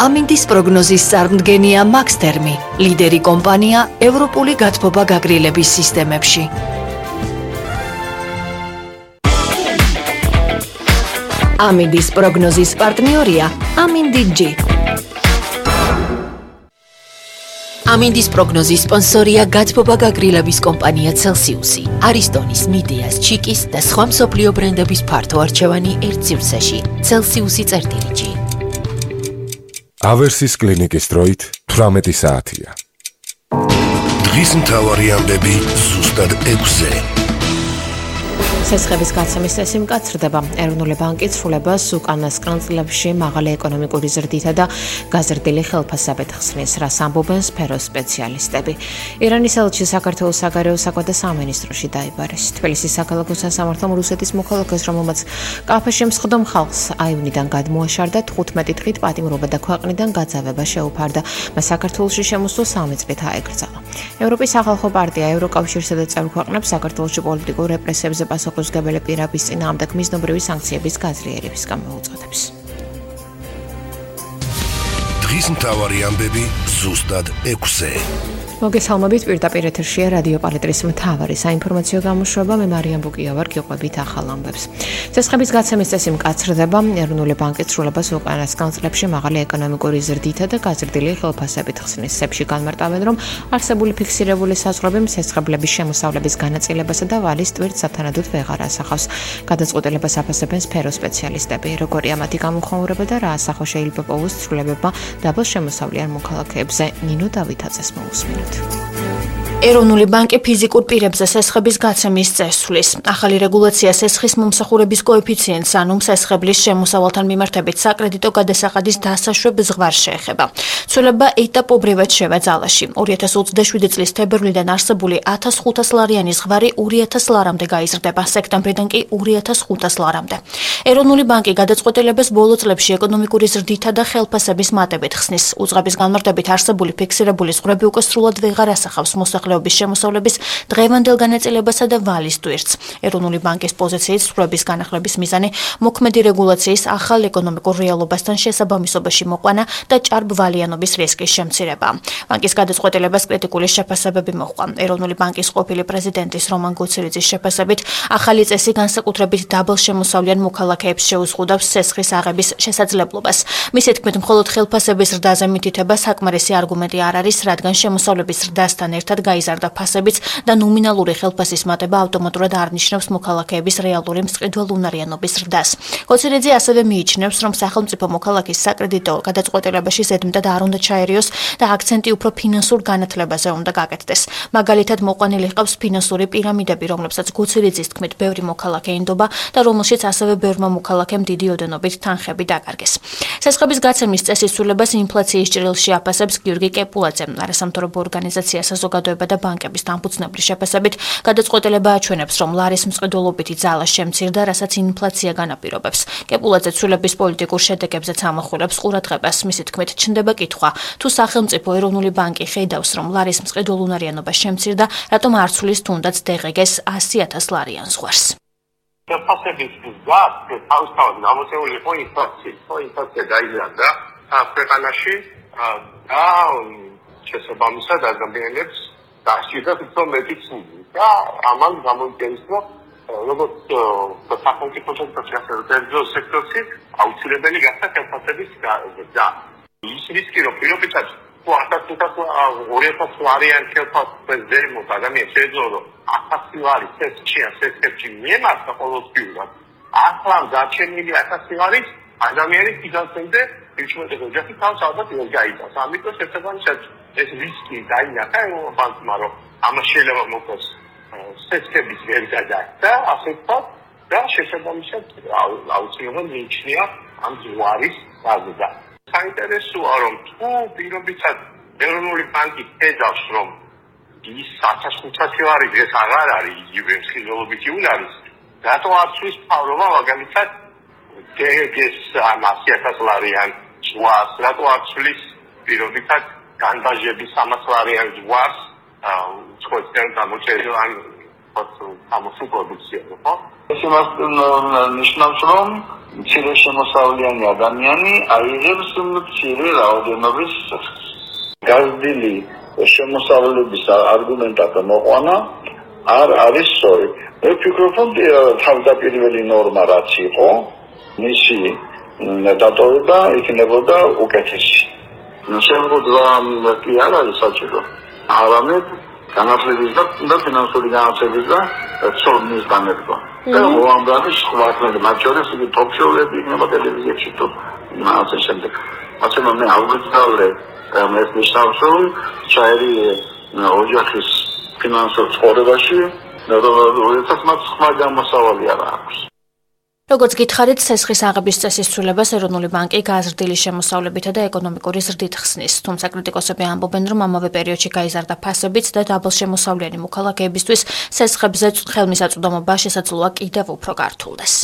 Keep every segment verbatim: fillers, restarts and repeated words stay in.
ამინდის პროგნოზის წარმდგენია მაქსთერმი, ლიდერი კომპანია ევროპული გათბობა გაგრილების სისტემებში. ამინდის პროგნოზის პარტნიორია ამინდი ჯი. ამინდის პროგნოზის სპონსორია გათბობა გაგრილების კომპანია Celsius-ი, არისტონის, მიდეას, ჩიკის და სხვა მსოფლიო ბრენდების ფართო არჩევანი ერთ სივრცეში. Celsius-ი წერტილი ჯი. ავერსის კლინიკის დროით თვრამეტი საათია. დღის მთავარი ამბები ზუსტად ექვსზე. სესხების გაცემის წესი მკაცრდება. ეროვნული ბანკი ცვლილებას უკანასკნელ წლებში მაღალი ეკონომიკური ზრდითა და გაზრდილი ხელფასებით ხსნის, რას ამბობენ სფეროს სპეციალისტები. ირანის ელჩი საქართველოს საგარეო საქმეთა სამინისტროში დაიბარეს. თბილისის საქალაქო სასამართლომ რუსეთის მოქალაქეს, რომელმაც კაფეში მსხდომ ხალხს აივნიდან გადმოაშარდა, თხუთმეტი დღით პატიმრობა და ქვეყნიდან გაძევება შეუფარდა. მას საქართველოში შემოსვლა სამი წლით აეკრძალა. ევროპის სახალხო პარტია ევროკავშირსა და წევრ ქვეყნებს საქართველოში პოლიტიკურ რეპრესიებზე პასუხისმგებელი პირების წინააღმდეგ მიზნობრივი სანქციების გაძლიერების გამოუწოდებს. დღის მთავარი ამბები ზუსტად ექვსზე. მოგესალმებით, პირდაპირ ეთერშია რადიო პალეტრის მთავარი საინფორმაციო გამოშვება. მე მარიამ ბუკია ვარ, გიყვებით ახალ ამბებს. სესხების გაცემის წესი მკაცრდება. ეროვნული ბანკი ცვლილებას უკანასკნელ წლებში მაღალი ეკონომიკური ზრდითა და გაზრდილი ხელფასებით ხსნის. სებში განმარტავენ, რომ არსებული ფიქსირებული საზღვრები სესხებლების შემოსავლების განაწილებასა და ვალის ტვირთს სათანადოდ ვეღარ ასახავს. გადაწყვეტილებას აფასებენ სფეროს სპეციალისტები. როგორია მათი გამოხმაურება და რა ასახვა შეიძლება პოვოს ცვლილებებმა დაბალ შემოსავლიან მოქალაქეებზე. ნინო დავითაძეს მოусმინოთ. ეროვნული ბანკი ფიზიკურ პირებზე სესხების გაცემის წესს ცვლის. ახალი რეგულაცია სესხის მომსახურების კოეფიციენტს, ანუ სესხებლის შემოსავალთან მიმართებით საკრედიტო გადასახადის დასაშვებ ზღვარს შეეხება. ცვლილება ეტაპობრივად შევა-ძალაში. ორი ათას ოცდაშვიდი წლის თებერვლიდან არსებული ათას ხუთას ლარიანი ზღვარი ორი ათას ლარამდე გაიზრდება, სექტემბრიდან კი ორი ათას ხუთას ლარამდე. ეროვნული ბანკი გადაწყვეტილებას ბოლო წლებში ეკონომიკური ზრდითა და ხელფასების მატებით ხსნის. უძღების განმარტებით არსებული ფიქსირებული ზღვრები უკვე სრულად ვეღარ ასახავს მოსახლეობის შემოსავლების დღევანდელ განაწილებასა და ვალის ტვირთს. ეროვნული ბანკის პოზიციით ზღვრების განახლების მიზანი მოქმედი რეგულაციის ახალ ეკონომიკურ რეალობასთან შესაბამისობაში მოყვანა და ჭარბვალიანობის რისკის შემცირება. ბანკის გადაწყვეტილებას კრიტიკული შეფასებები მოჰყვა. ეროვნული ბანკის ყოფილი პრეზიდენტის რომან გუცილიძის შეფასებით, ახალი წესი განსაკუთრებით დაბალ შემოსავლიან მოქალაქეებს შეუზღუდავს სესხის აღების შესაძლებლობას. მისი თქმით, მხოლოდ ხელფასების ზრდაზე მითითება საკმარისი არგუმენტი არ არის, რადგან შემოსავლების ზრდასთან ერთად გაიზარდა ფასებიც და ნომინალური ხელფასის მატება ავტომატურად არ ნიშნავს მოქალაქეების რეალური მწყიდველუნარიანობის ზრდას. გუცილიძე ასევე მიიჩნევს, რომ სახელმწიფო მოქალაქის საკრედიტო გადაწყვეტილებაში ზედმეტად არ უნდა ჩაერიოს და აქცენტი უფრო ფინანსურ განათლებაზე უნდა გაკეთდეს. მაგალითად, მოყვანილი ჰყავს ფინანსური პირამიდები, რომლებსაც გუცილიძის თქმით ბევრი მოქალაქე ინდობა და რომელშიც ასევე ბევრმა მოქალაქემ დიდი ოდენობით თანხები დაკარგეს. სესხების გაცემის წესის ცვლილებას ინფლაციის ჭრილში აფასებს გიორგი კეპულაძე. არასამთავრობო ორგანიზაცია საზოგადოება და ბანკების დამფუძნებლის შეფასებით, გადაწყვეტილება აჩვენებს, რომ ლარის მწყიდველობითი ძალა შემცირდა, რასაც ინფლაცია განაპირობებს. კეპულაძე ცვლილების პოლიტიკურ შედეგებზეც ამახვილებს ყურადღებას. მისი თქმით, ჩნდება კითხვა, თუ სახელმწიფო ეროვნული ბანკი ხედავს, რომ ლარის მწყიდველუნარიანობა შემცირდა, რატომ არ ცვლის თუნდაც დღგ-ს ასი ათას ლარიან ზღვარს. ხელფასების გზას თავისთავად გამოწეული იყო ინფლაცია, ხო ინფლაცია გაიზარდა ქვეყანაში და შესაბამისად ადამიანებს დასჭირდა უფრო მეტი ცუდი და ამან გამოიწვევს, რომ როგორც სახელმწიფო სექტორში სექტორში აუცილებელი გახდა ხელფასების გზა. ის რისკი, რომ პირობითად ორი ათას ლარიან ხელფასზე ზემოთ ადამიანს შეეძლო, რომ ათასი ლარი სესხში ან სესხებში მიემართა ყოველდღიურად. ახლა დარჩენილი ათასი ლარის ადამიანის ფინანსებზე იჩვენებს ოჯახი თავს ალბათ ვერ გაიწევს. ამიტომ შესაბამისად ეს რისკი დაინახა ეროვნულ ბანკმა, რომ ამას შეიძლება მოხდეს სესხების ვერ გადაჭრა, ასე ვთქვათ, და შესაბამისად აუცილებლად მიიჩნია ამ ზღვარის გაზრდა. საინტერესოა, რომ თუ პირობითად ეროვნული ბანკი ხედავს, რომ ის ათას ხუთასი ლარი დღეს აღარ არის იგივე მსხვილობითი უნარის, რატო არ ცვლის მთავრობა მაგალითად დგ-ს ამ ასი ათას ლარიან ზღვარს, რატო არ ცვლის პირობითად განბაჟების სამას ლარიან ზღვარს, უცხოეთიდან გამოჩენილ ან ამოსი პროდუქცია, ხო? ეს იმას ნიშნავს, რომ მცირე შემოსავლიანი ადამიანი აიღებს მცირე რაოდენობის სისხლს. გაზრდილი შემოსავლების არგუმენტად მოყვანა არ არის სწორი. მე ვფიქრობ, რომ თავდაპირველი ნორმა რაც იყო, მისი დატოვება იქნებოდა უკეთესი. შემოგვდა კი არ არის საჭირო. არამედ განათლების და ფინანსური განათლების და ცოდნის განერგვა. და მოამგარი სხვა ხმები, მათ შორის იგი ტოპ-შოუები იქნება ტელევიზიაში თუ ასე შემდეგ. ასე რომ მე აღვიძალე ეს ნიშნავს, რომ ჩაერი ოჯახის ფინანსურ ცხოვრებაში და როდესაც მათ სხვა გამოსავალი არ აქვს. როგორც გითხარით, ცესხის აღების წესის ცვლილებას ეროვნული ბანკი გაზრდილი შემოსავლებითა და ეკონომიკური ზრდით ხსნის, თუმცა კრიტიკოსები ამბობენ, რომ ამავე პერიოდში გაიზარდა ფასებიც და დაბალშემოსავლიანი მოქალაქეებისთვის ცესხებზე ხელმისაწვდომობა შესაძლოა კიდევ უფრო გართულდეს.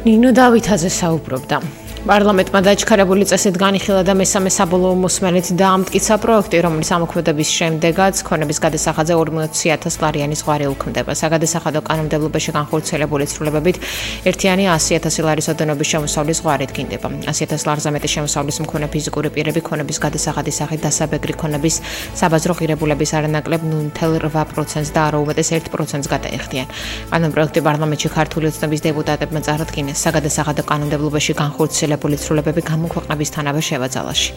ნინო დავითაძე საუბრობდა. პარლამენტმა დაჩქარებული წესით განიხილა და მესამე საბოლოო მოსმენით დაამტკიცა პროექტი, რომლის ამოქმედების შემდეგაც ქონების გადასახადზე ორმოცი ათას ლარიანი ზღვარი უქმდება. საგადასახადო კანონმდებლობაში განხორციელებული ცვლილებებით ერთიანი ასი ათასი ლარის ოდენობის შემოსავლის ზღვარი დგინდება. ასი ათას ლარზე მეტი შემოსავლის მქონე ფიზიკური პირები ქონების გადასახადის სახით დასაბეგრი ქონების საბაზრო ღირებულების არანაკლებ ნულ ათას რვა პროცენტს და არა უმეტეს ერთ პროცენტს გადაეხდიან. კანონპროექტი პარლამენტში ქართული ოცნების დეპუტატებმა წარადგინეს. საგადასახადო კანონმდებლობაში განხორციელებული ცვლილებები გამოქვეყნებისთანავე შევაძალაში.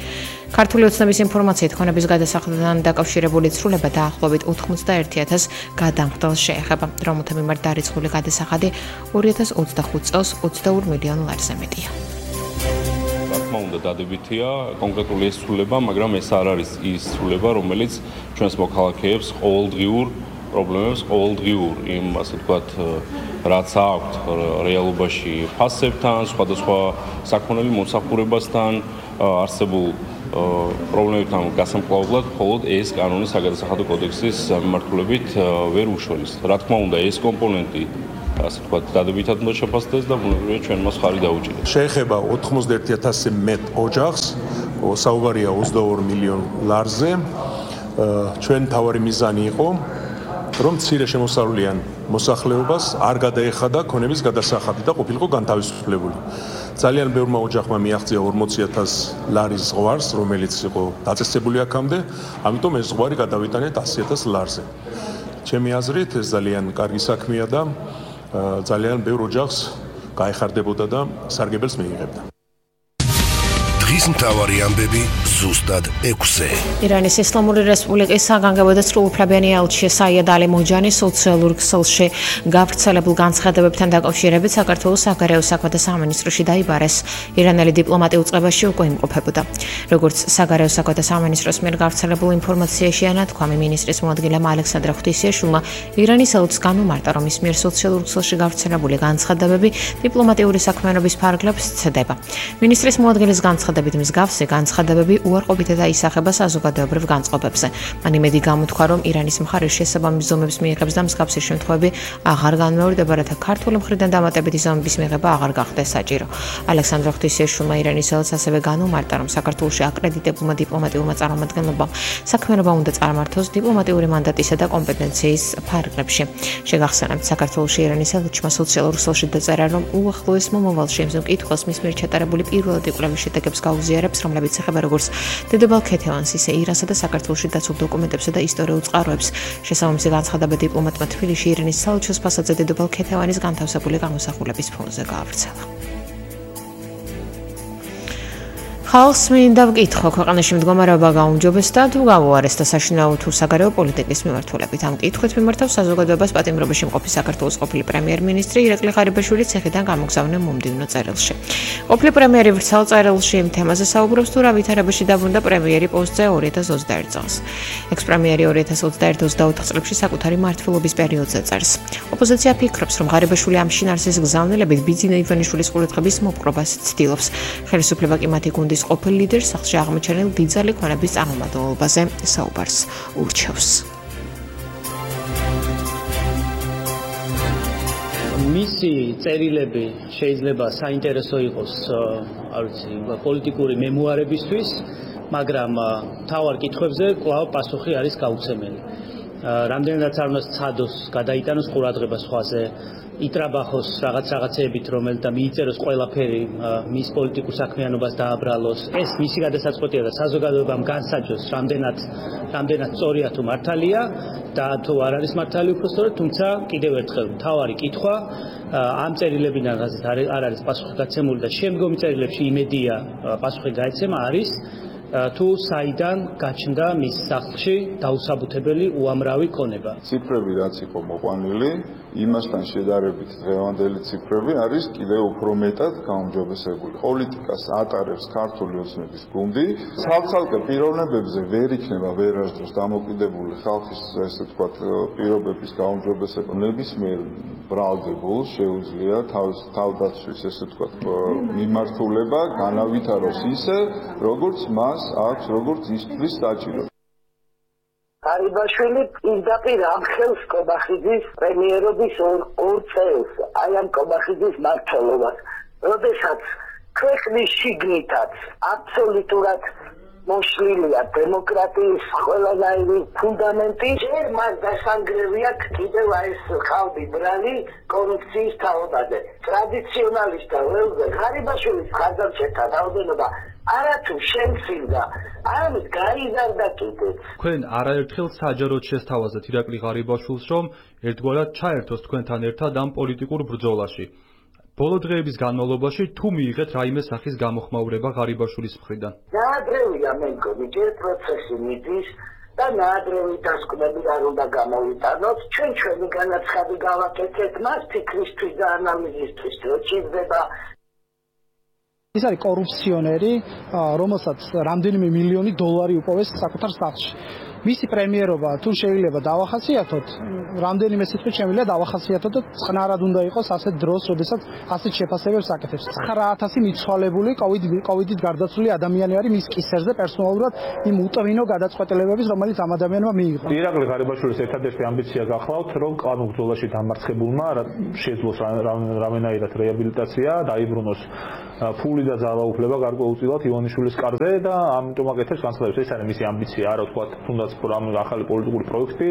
ქართული ოცნების ინფორმაციით ქონების გადასახადთან დაკავშირებული ცვლილება დაახლოებით ოთხმოცდაერთი ათას გადამხდელს შეეხება, რომელთა მიმართ დარიცხული გადასახადი ორი ათას ოცდახუთ წელს ოცდაორ მილიონ ლარზე მეტია. რა თქმა უნდა, დადებითია კონკრეტული ეს ცვლილება, მაგრამ ეს არ არის ის ცვლილება, რომელიც ჩვენს მოქალაქეებს ყოველდღიურ პრობლემებს, ყოველდღიურ იმ ასე ვთქვათ რაც აქვთ რეალობაში ფასებთან, სხვადასხვა საქონელი მომსახურებასთან არსებულ პრობლემებთან გასამკლავებლად მხოლოდ ეს კანონის საგადასახადო კოდექსის მიმართულებით ვერ უშველის. რა თქმა უნდა, ეს კომპონენტი ასე ვთქვათ დადებითად უნდა შეფასდეს და ბუნებრივია ჩვენ მას ხარი დაუჭირეთ. შეეხება ოთხმოცდაერთი ათასზე მეტ ოჯახს, საუბარია ოცდაორ მილიონ ლარზე. ჩვენ თავარი მიზანი იყო რომ მცირე შემოსავლიან მოსახლეობას არ გადაეხადა ქონების გადასახადი და ყოფილიყო განთავისუფლებული. ძალიან ბევრმა ოჯახმა მიაღწია ორმოცი ათას ლარის ზღვარს, რომელიც იყო დაწესებული აქამდე, ამიტომ ეს ზღვარი გადავიტანეთ ასი ათას ლარზე. ჩემი აზრით, ეს ძალიან კარგი საქმეა და ძალიან ბევრ ოჯახს გაეხარდებოდა და სარგებელს მიიღებდა. დღის მთავარი ამბები ზუსტად ექვსზე. ირანის ისლამური რესპუბლიკის საგანგებო და სრულუფლებიანი ელჩი საიად ალი მოჯანი სოციალურ ქსელში გავრცელებულ განცხადებებთან დაკავშირებით საქართველოს საგარეო საქმეთა სამინისტროში დაიბარეს. ირანელი დიპლომატი უწყებაში უკვე იმყოფებოდა. როგორც საგარეო საქმეთა სამინისტროს მიერ გავრცელებულ ინფორმაციაში ანათქვამი, მინისტრის მოადგილემ ალექსანდრე ღვთისიაშვილმა ირანის ელჩს განუმარტა, რომ ის მიერ სოციალურ ქსელში გავრცელებული განცხადებები დიპლომატიური საქმიანობის ფარგლებს ცდება. მინისტრის მოადგილის განცხადებები მსგავსი განცხადებები უარყოფითად აისახება საზოგადოებრივ განწყობებზე. მან იმედი გამოთქვა, რომ ირანის მხარე შესაბამის ზომებს მიიღებს და მსგავსი შემთხვევები აღარ განმეორდება, რათა ქართული მხრიდან დამატებითი ზომების მიღება აღარ გახდეს საჭირო. ალექსანდრე ღვთისიაშვილმა ირანის ელჩს ასევე განუმარტა, რომ საქართველოში აკრედიტებულმა დიპლომატიურმა წარმომადგენლობამ საქმიანობა უნდა წარმართოს დიპლომატიური მანდატისა და კომპეტენციის ფარგლებში. შეგახსენებთ, საქართველოში ირანის ელჩმა სოციალურ ქსელში დაწერა, რომ უახლოეს მომავალში ამ მკითხველს მის მიერ ჩატარებული პირველადი კვლევის შედეგებს გაუზიარებს, რომლებიც ეხება როგორც დედოფალ ქეთევანს, ისე ირანსა და საქართველოში დაცულ დოკუმენტებსა და ისტორიულ წყაროებს. შესაბამისი განცხადება დიპლომატმა თბილისში ირანის საელჩოს ფასადზე დედოფალ ქეთევანის განთავსებული გამოსახულების ფონზე გაავრცელა. ხალხს მინდა ვკითხო, ქვეყანაში მდგომარეობა გაუმჯობესდა თუ გაუარესდა საშინაო თუ საგარეო პოლიტიკის მიმართულებით. ამ კითხვით მიმართავს საზოგადოებას პატიმრობაში მყოფი საქართველოს ყოფილი პრემიერ-მინისტრი ირაკლი ღარიბაშვილი ციხიდან გამოგზავნე მომდივნო წერილში. ყოფილი პრემიერი ვრცელ წერილში იმ თემაზე საუბრობს, თუ რა ვითარებაში დაბრუნდა პრემიერი პოსტზე ორი ათას ოცდაერთი წელს. ექს-პრემიერი ორი ათას ოცდაერთი ოცდაოთხ წლებში საკუთარი მმართველობის პერიოდზე წერს. ოპოზიცია ფიქრობს, რომ ღარიბაშვილი ამ შინაარსის გზავნილებით ბიძინა ივანიშვილის ყურადღების მოპყრობას ცდილობს. ხელისუფლება კი მათი გუნდის ყოფილ ლიდერს სახლში აღმოჩენილ დიდძალი ქონების წარმომადგენლობაზე საუბარს ურჩევს. მისი წერილები შეიძლება საინტერესო იყოს, არ ვიცი, პოლიტიკური მემუარებისთვის, მაგრამ თავარ კითხვებზე კვლავ პასუხი არის გაუცემელი. რამდენადაც არ უნდა ცადოს, გადაიტანოს ყურადღება სხვაზე, იტრაბახოს რაღაც რაღაცეებით, რომელ და მიიწეროს ყველაფერი მის პოლიტიკურ საქმიანობას დააბრალოს. ეს მისი გადასაწყვეტია და საზოგადოებამ განსაჯოს, რამდენად რამდენად სწორია თუ მართალია და თუ არ არის მართალი უბრალოდ, თუმცა კიდევ ერთხელ მთავარი კითხვა ამ წერილებიდან რაზეც არ არის პასუხი გაცემული და შემდგომი წერილებში იმედია პასუხი გაეცემა არის თუ საიდან გაჩნდა მის სახლში დაუსაბუთებელი უამრავი ქონება. ციფრები რაც იყო მოყვანილი, იმასთან შედარებით დღევანდელი ციფრები არის კიდევ უფრო მეტად გაუმჯობესებული. პოლიტიკას ატარებს ქართული ოცნების გუნდი, ცალ-ცალკე პიროვნებებზე ვერ იქნება ვერასდროს დამოკიდებული ხალხის ესე ვთქვათ პირობების გაუმჯობესება. ნებისმიერ ბრალდებულს შეუძლია თავის თავდაცვის ესე ვთქვათ მიმართულება განავითაროს ისე, როგორც მას აქვს როგორც ისთვის საჭირო. გარიბაშვილი პირდაპირ ამხელს კობახიძის პრემიერობის ორ წელს, აი ამ კობახიძის მმართველობას, როდესაც ქვეყნის შიგნითაც აბსოლუტურად მოშლილია დემოკრატიის ყველანაირი ფუნდამენტი, ჯერ მას დასანგრევია კიდევ ეს ხალხი ბრალი კორუფციის თაობაზე. ტრადიციონალისტთა ველზე გარიბაშვილის ხარდამჭერთა რაოდენობა არათუ შემცირდა, არამედ გაიზარდა კიდეც. თქვენ არაერთხელ საჯაროდ შესთავაზეთ ირაკლი ღარიბაშვილს, რომ ერთგვარად ჩაერთოს თქვენთან ერთად ამ პოლიტიკურ ბრძოლაში. ბოლო დღეების განმავლობაში თუ მიიღეთ რაიმე სახის გამოხმაურება ღარიბაშვილის მხრიდან? ნაადრევია მე მგონი, ჯერ პროცესი მიდის და ნაადრევი დასკვნები არ უნდა გამოვიტანოთ. ჩვენ ჩვენი განაცხადი გავაკეთეთ მას ფიქრისთვის და ანალიზისთვის, რომ ჭირდება. ის არის კორუფციონერი, რომელსაც რამდენიმე მილიონი დოლარი უპოვეს საკუთარ სახლში. მისი პრემიერობა თუ შეიძლება დავახასიათოთ, რამდენიმე სიტყვით შემიძლია დავახასიათოთ და წყნარად უნდა იყოს ასეთ დროს, როდესაც ასეთ შეფასებებს აკეთებს. ცხრა ათასი მიცვალებული კოვიდით გარდაცვლილი ადამიანი არის მის კისერზე პერსონალურად იმ უტვინო გადაწყვეტილებების, რომელიც ამ ადამიანმა მიიღო. ირაკლი ღარიბაშვილის ერთადერთი ამბიცია გახლავთ, რომ ამ ბრძოლაში დამარცხებულმა შეძლოს რამენაირად რეაბილიტაცია, დაიბრუნოს ფული და ძალაუფლება გარკვეულწილად ივანიშვილის კარზე და ამიტომ აკეთებს განცხადებას. ეს არის მისი ამბიცია, არა თქვა თუნდაც ამ ახალი პოლიტიკური პროექტი.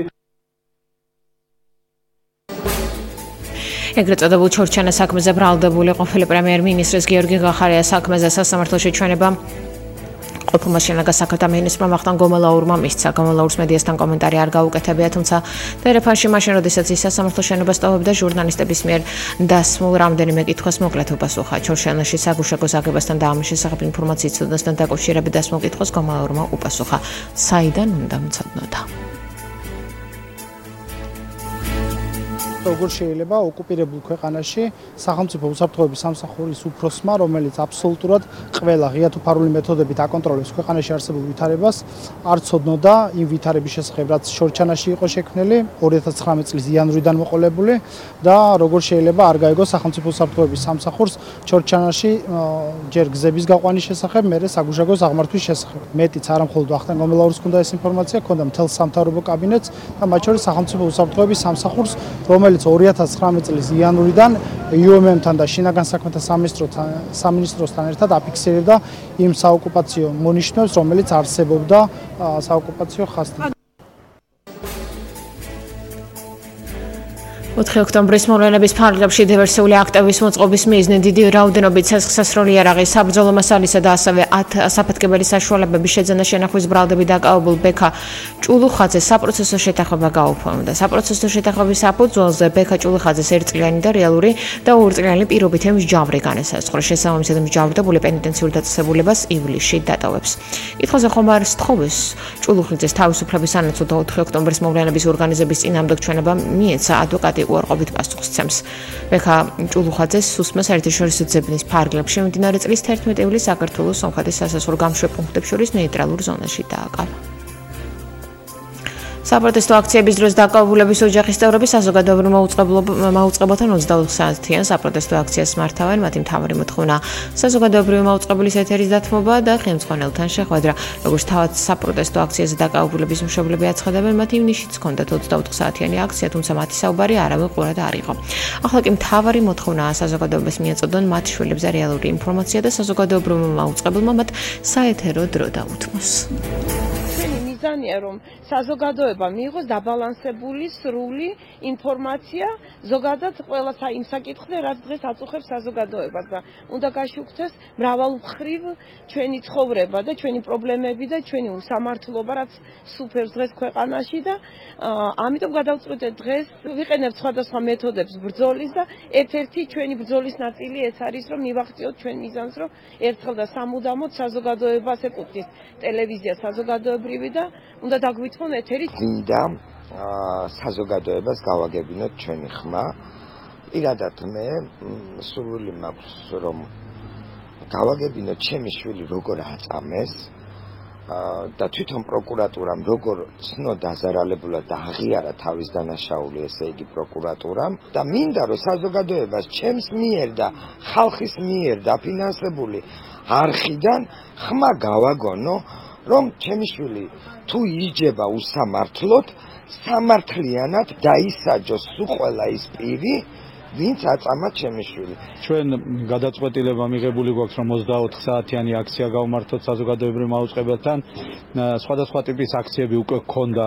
ეგრეთ წოდებულ ჩორჩანას საქმეზე ბრალდებული ყოფილი პრემიერ-მინისტრის გიორგი გახარიას საქმეზე სასამართლოში ჩვენება ყოფილმა შენაგან საქმეთა მინისტრმა ვახტანგ გომელაურმა მისცა. გომელაურს მედიასთან კომენტარი არ გაუკეთებია, თუმცა ტელეფონში მაშინ როდესაც ის სასამართლო შენობას ტოვებდა, ჟურნალისტების მიერ დასმულ რამდენიმე კითხვას მოკლედ უპასუხა. ჩორჩანაში საგუშაგოს აგებასთან და ამის შესახებ ინფორმაციის ცოდნასთან დაკავშირებით დასმულ კითხვას გომელაურმა უპასუხა. საიდან უნდა მცოდნოდა? როგორ შეიძლება ოკუპირებულ ქვეყანაში სახელმწიფო უსაფრთხოების სამსახურის უფროსმა, რომელიც აბსოლუტურად ყველა ღია თუ ფარული მეთოდებით აკონტროლებს ქვეყანაში არსებულ ვითარებას, არ ცოდნოდა იმ ვითარების შესახებ, რაც შორჩანაში იყო შექმნილი ორი ათას ცხრამეტ წლის იანვრიდან მოყოლებული და როგორ შეიძლება არ გაიგოს სახელმწიფო უსაფრთხოების სამსახურს შორჩანაში ჯერ გზების გაყვანის შესახებ, მერე საგუშაგოს აღმართვის შესახებ. მეტიც არა მხოლოდ ვახტანგ გომელაურს ჰქონდა ეს ინფორმაცია, ჰქონდა მთელ სამთავრობო კაბინეტს და მათ შორის სახელმწიფო უსაფრთხოების სამსახურს, რომელიც ორი ათას ცხრამეტ წლის იანვრიდან იუ ემ ემ-თან და შინაგან საქმეთა სამინისტროსთან ერთად აფიქსირებდა იმ საოკუპაციო მონიშნვებს, რომელიც არსებობდა საოკუპაციო ხაზთან. ოთხი ოქტომბრის მოვლენების ფარგლებში დივერსიული აქტების მოწყობის მიზნით დიდი რაოდენობით ცეცხლსასროლი იარაღის, საბრძოლო მასალისა და ასევე საფეთქებელი საშუალებების შეძენა შენახვის ბრალდებით დაკავებულ ბექა ჭულუხაძეს საპროცესო შეთანხმება გაუფორმდა. საპროცესო შეთანხმების საფუძველზე ბექა ჭულუხაძეს ერთწლიანი და რეალური და ორწლიანი პირობით მსჯავრი განესაზღვრა. შესაბამისად მსჯავრდებული პენიტენციურ დაწესებულებას ივლისში დატოვებს. კითხვაზე ხომ არ სთხოვეს ჭულუხაძეს თავისუფლების ანაცვლოდ ოთხი ოქტომბრის მოვლენების ორგანიზების წინააღმდეგ ჩვენება მიეცა ადვოკატი უარყოფით პასუხს ცემს. ბექა ჭულუხაძეს სუსმას საერთაშორისო ძებნის ფარგლებში მიმდინარე წლის თერთმეტი ივლისს საქართველოს სომხეთის სასაზღვრო გამშვებ პუნქტებს შორის ნეიტრალურ ზონაში დააკავა. საპროტესტო აქციების დროს დაკავებულების ოჯახის წევრები საზოგადოებრივ მაუწყებელთან ოცდაოთხ საათიან საპროტესტო აქციას მართავენ. მათი მთავარი მოთხოვნა საზოგადოებრივი მაუწყებლის ეთერის დათმობა და ხელმძღვანელთან შეხვედრა. როგორც თავად საპროტესტო აქციაზე დაკავებულების მშობლები აცხადებენ, მათ ივნისშიც ჰქონდათ ოცდაოთხ საათიანი აქცია, თუმცა მათი საუბარი არავინ ყურად არ იყო. ახლა კი მთავარი მოთხოვნაა საზოგადოებას მიაწოდონ მათ შვილებზე რეალური ინფორმაცია და საზოგადოებრივ მაუწყებელმა მათ საეთერო დრო დაუთმოს. ბრძანია, რომ საზოგადოება მიიღოს დაბალანსებული, სრული ინფორმაცია ზოგადად ყველა იმ საკითხზე, რაც დღეს აწუხებს საზოგადოებას და უნდა გაშუქდეს მრავალმხრივ ჩვენი ცხოვრება და ჩვენი პრობლემები და ჩვენი უსამართლობა, რაც სუფევს დღეს ქვეყანაში და ამიტომ გადავწყვიტეთ დღეს ვიყენებთ სხვადასხვა მეთოდებს ბრძოლის და ერთ-ერთი ჩვენი ბრძოლის ნაწილი ეს არის, რომ მივახციოთ ჩვენ მიზანს, რომ ერთხელ და სამუდამოდ საზოგადოებას ეკუთვნის ტელევიზია საზოგადოებრივი და უნდა დაგვითმონ ეთერი. გინდა საზოგადოებას გავაგებინოთ ჩვენი ხმა. პირადად მე სურვილი მაქვს, რომ გავაგებინოთ ჩემი შვილი როგორ აწამეს და თვითონ პროკურატურამ როგორ ცნო დაზარალებულად და აღიარა თავის დანაშაული, ესე იგი პროკურატურამ და მინდა რომ საზოგადოებას ჩემს მიერ და ხალხის მიერ დაფინანსებული არხიდან ხმა გავაგონო, რომ ჩემი შვილი თუ იჯება უსამართლოდ, სამართლიანად დაისაჯოს სულ ყველა ის პირი, ვინც აწამა ჩემი შვილი. ჩვენ გადაწყვეტილება მიღებული გვაქვს, რომ ოცდაოთხ საათიანი აქცია გავმართოთ საზოგადოებრივ მაუწყებელთან. სხვადასხვა ტიპის აქციები უკვე გქონდა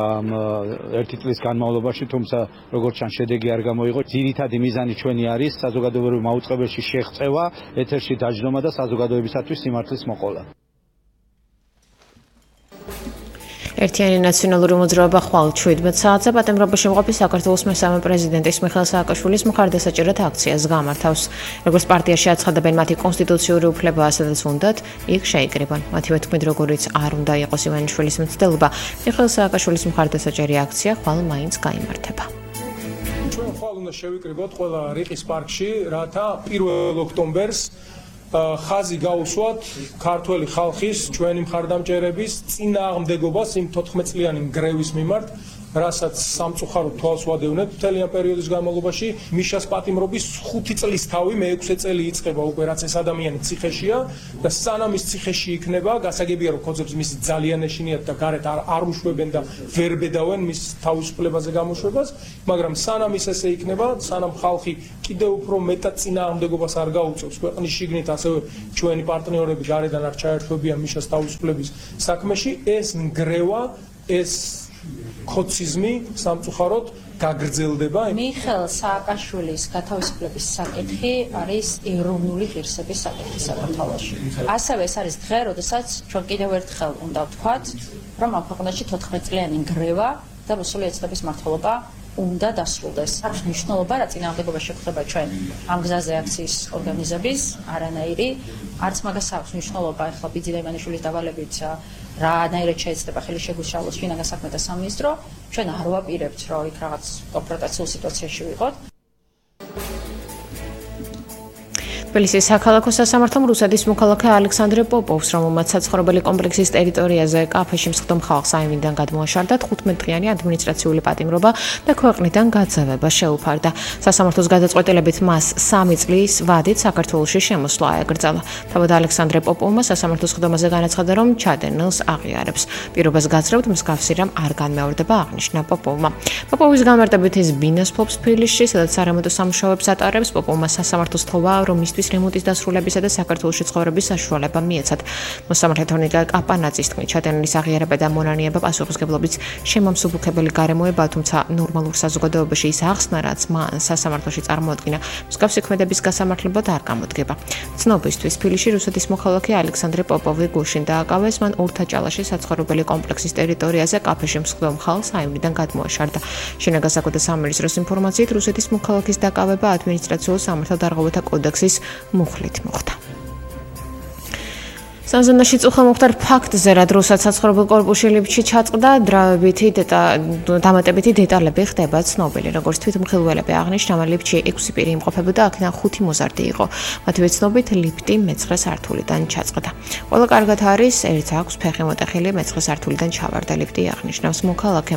ერთი წლის განმავლობაში, თუმცა როგორც ჩანს შედეგი არ გამოიღო. ძირითადი მიზანი ჩვენი არის საზოგადოებრივ მაუწყებელში შეღწევა, ეთერში დაჯდომა და საზოგადოებისათვის სიმართლის მოყოლა. ერთიანი ნაციონალური მოძრაობა ხვალ შვიდმეტ საათზე პატიმრობაში მყოფი საქართველოს მესამე პრეზიდენტის მიხეილ სააკაშვილის მხარდასაჭერად აქციას გამართავს. როგორც პარტიაში აცხადებენ მათი კონსტიტუციური უფლება, სადაც უნდათ, იქ შეიკრიბონ. მათივე თქმით, როგორიც არ უნდა იყოს ივანიშვილის მცდელობა, მიხეილ სააკაშვილის მხარდასაჭერი აქცია ხვალ მაინც გაიმართება. ჩვენ ხვალ უნდა შევიკრიბოთ ყველა რიყის პარკში, რათა პირველ ოქტომბერს ხაზი გაუსვათ ქართველი ხალხის ჩვენი მხარდამჭერების წინააღმდეგობას იმ თოთხმეტ წლიანი გრევის მიმართ, რასაც სამწუხაროდ თვალს ვადევნებთ მთელი ამ პერიოდის განმავლობაში. მიშას პატიმრობის ხუთი წლის თავი მეექვსე წელი იწყება უკვე, რაც ეს ადამიანი ციხეშია და სანამ ის ციხეში იქნება, გასაგებია რომ ქოძებს მისი ძალიან ეშინიათ და გარეთ არ, არ უშვებენ და ვერ ბედავენ მის თავისუფლებაზე გამოშვებას, მაგრამ სანამ ის ესე იქნება, სანამ ხალხი კიდევ უფრო მეტად წინააღმდეგობას არ გაუწევს ქვეყნის შიგნით, ასევე ჩვენი პარტნიორები გარედან არ ჩაერთვებიან მიშას თავისუფლების საქმეში, ეს ნგრევა, ეს ქოციზმი სამწუხაროდ გაგრძელდება. მიხეილ სააკაშვილის გათავისუფლების საკითხი არის ეროვნული ღირსების საკითხი საქართველოში. ასევე ეს არის დღე, როდესაც ჩვენ კიდევ ერთხელ უნდა ვთქვათ, რომ ამ ქვეყანაში თოთხმეტ წლიანი ნგრევა და რუსული ეთნობის მმართველობა უნდა დასრულდეს. აქვს მნიშვნელობა, რა წინააღმდეგობა შეგვხდება ჩვენ ამ გზაზე აქციის ორგანიზების, არანაირი, არც მაგას აქვს მნიშვნელობა ახლა ბიძინა ივანიშვილის დავალებით რანაირად შეეცდება ხელი შეგუშალოს შინაგან საქმეთა სამინისტრო, ჩვენ არ ვაპირებთ, რომ იქ რაღაც კონფრონტაციულ სიტუაციაში ვიყოთ. თბილისის საქალაქო სასამართლომ რუსეთის მოქალაქე ალექსანდრე პოპოვს, რომელმაც საცხოვრებელი კომპლექსის ტერიტორიაზე კაფეში მსხდომ ხალხს აივნიდან გადმოაშარდა თხუთმეტ დღიანი ადმინისტრაციული პატიმრობა და ქვეყნიდან გაძევება შეუფარდა. სასამართლოს გადაწყვეტილებით მას სამი წლის ვადით საქართველოში შემოსვლა აკრძალა. თავად ალექსანდრე პოპოვმა სასამართლოს ხდომაზე განაცხადა, რომ ჩადენილს აღიარებს. პირობას გაძლევთ, მსგავსი რამ არ განმეორდება, აღნიშნა პოპოვმა. პოპოვის გამარტებით ის ბინას ფლობს თბილისში, სადაც სარემონტო სამუშაოებს ატარებს. პოპოვმა სასამართლოს თხოვა, რომ მისთვის რემონტის დასრულებისა და საქართველოში ცხოვრების საშუალება მიეცათ. მოსამართლე თორნიკა კაპანაძის თქმით, ჩადენილის აღიარება და მონანიება პასუხისმგებლობის შემამსუბუქებელი გარემოებაა, თუმცა ნორმალურ საზოგადოებაში ის ახსნა, რაც მან სასამართლოში წარმოადგინა, მსგავსი ქმედების გასამართლებლად არ გამოდგება. ცნობისთვის, თბილისში რუსეთის მოქალაქე ალექსანდრე პოპოვი გუშინ დააკავეს, მან ურთაჭალაში საცხოვრებელი კომპლექსის ტერიტორიაზე კაფეში მსხდომ ხალხს აივნიდან გადმოაშარდა. შინაგან საქმეთა სამინისტროს ინფორმაციით, რუსეთის მოქალაქის დაკავება ადმინისტრაციულ სამართალდარღვევათა კოდექსის მუხლით მოხდა. სანზანაში წუხა მოხდა ფაქტზე, რა დროსაც საცხოვრებელ კორპუსში ლიფტში ჩაწყდა, დრავებითი დამატებითი დეტალები ხდება ცნობილი. როგორც თვითმხილველები აღნიშნა, ლიფტში ექვსი პირი იმყოფებოდა, აქედან ხუთი მოზარდი იყო. მათივე ცნობით, ლიფტი მეცხრე სართულიდან ჩაწყდა. ყველა კარგად არის, ერთ აქვს ფეხი მოტეხილი, მეცხრე სართულიდან ჩავარდა ლიფტი, აღნიშნავს მოქალაქე.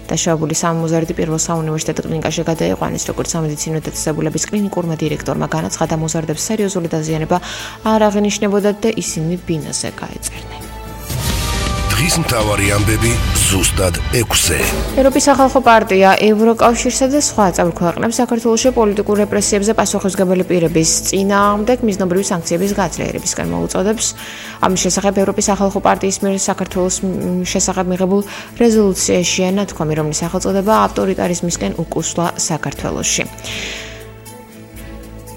დაშავებული სამი მოზარდი პირველ საუნივერსიტეტო კლინიკაში გადაიყვანეს, როგორც სამედიცინო დაწესებულების კლინიკურმა დირექტორმა განაცხადა, მოზარდებს სერიოზული დაზიანება არ აღინიშნებოდათ და ისინი ბინაზე გაეწერნენ. დღის მთავარი ამბები ზუსტად ექვსზე. ევროპის სახალხო პარტია, ევროკავშირსა და სხვა წევრ ქვეყნებს საქართველოში პოლიტიკურ რეპრესიებზე პასუხისმგებელი პირების წინააღმდეგ მიზნობრივი სანქციების გაძლიერებისკენ მოუწოდებს. ამის შესახებ ევროპის სახალხო პარტიის მიერ საქართველოს შესახებ მიღებულ რეზოლუციაშია ნათქვამი, რომლის სახელწოდება ავტორიტარიზმისკენ უკუსვლა საქართველოში.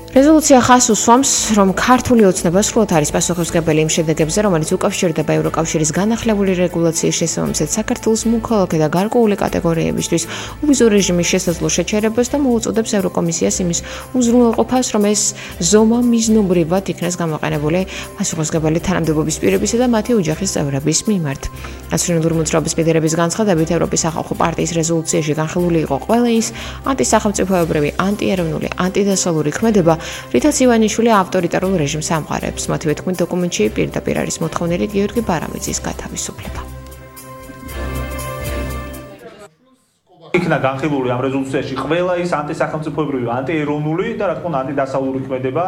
რეზოლუცია ხას უსვამს, რომ ქართული ოცნება სრულად არის პასუხისმგებელი იმ შედეგებზე, რომელიც უკავშირდება ევროკავშირის განახლებული რეგულაციის შესაბამისად საქართველოს მოქალაქე და გარკვეული კატეგორიებისთვის უვიზო რეჟიმის შესაძლო შეჩერებას და მოუწოდებს ევროკომისიას იმის უზრუნველყოფას, რომ ეს ზომა მიზნობრივად იქნეს გამოყენებული პასუხისმგებელი თანამდებობის პირებისა და მათი ოჯახის წევრების მიმართ. ნაციონალური მოძრაობის ლიდერების განცხადებით, ევროპის სახალხო პარტიის რეზოლუციაში განხილული იყო ყველა ის ანტისახელმწიფოებრივი, ანტიეროვნული, ანტიდასავლური ქმედება, რითაც ივანიშვილი ავტორიტარულ რეჟიმს ამყარებს. მათივე თქმით, დოკუმენტში პირდაპირ არის მოთხოვნილი გიორგი ბარამიძის გათავისუფლება. იქნა განხილული ამ რეზოლუციაში ყველა ის ანტისახელმწიფოებრივი, ანტიეროვნული და რა თქმა უნდა ანტიდასავლური ქმედება,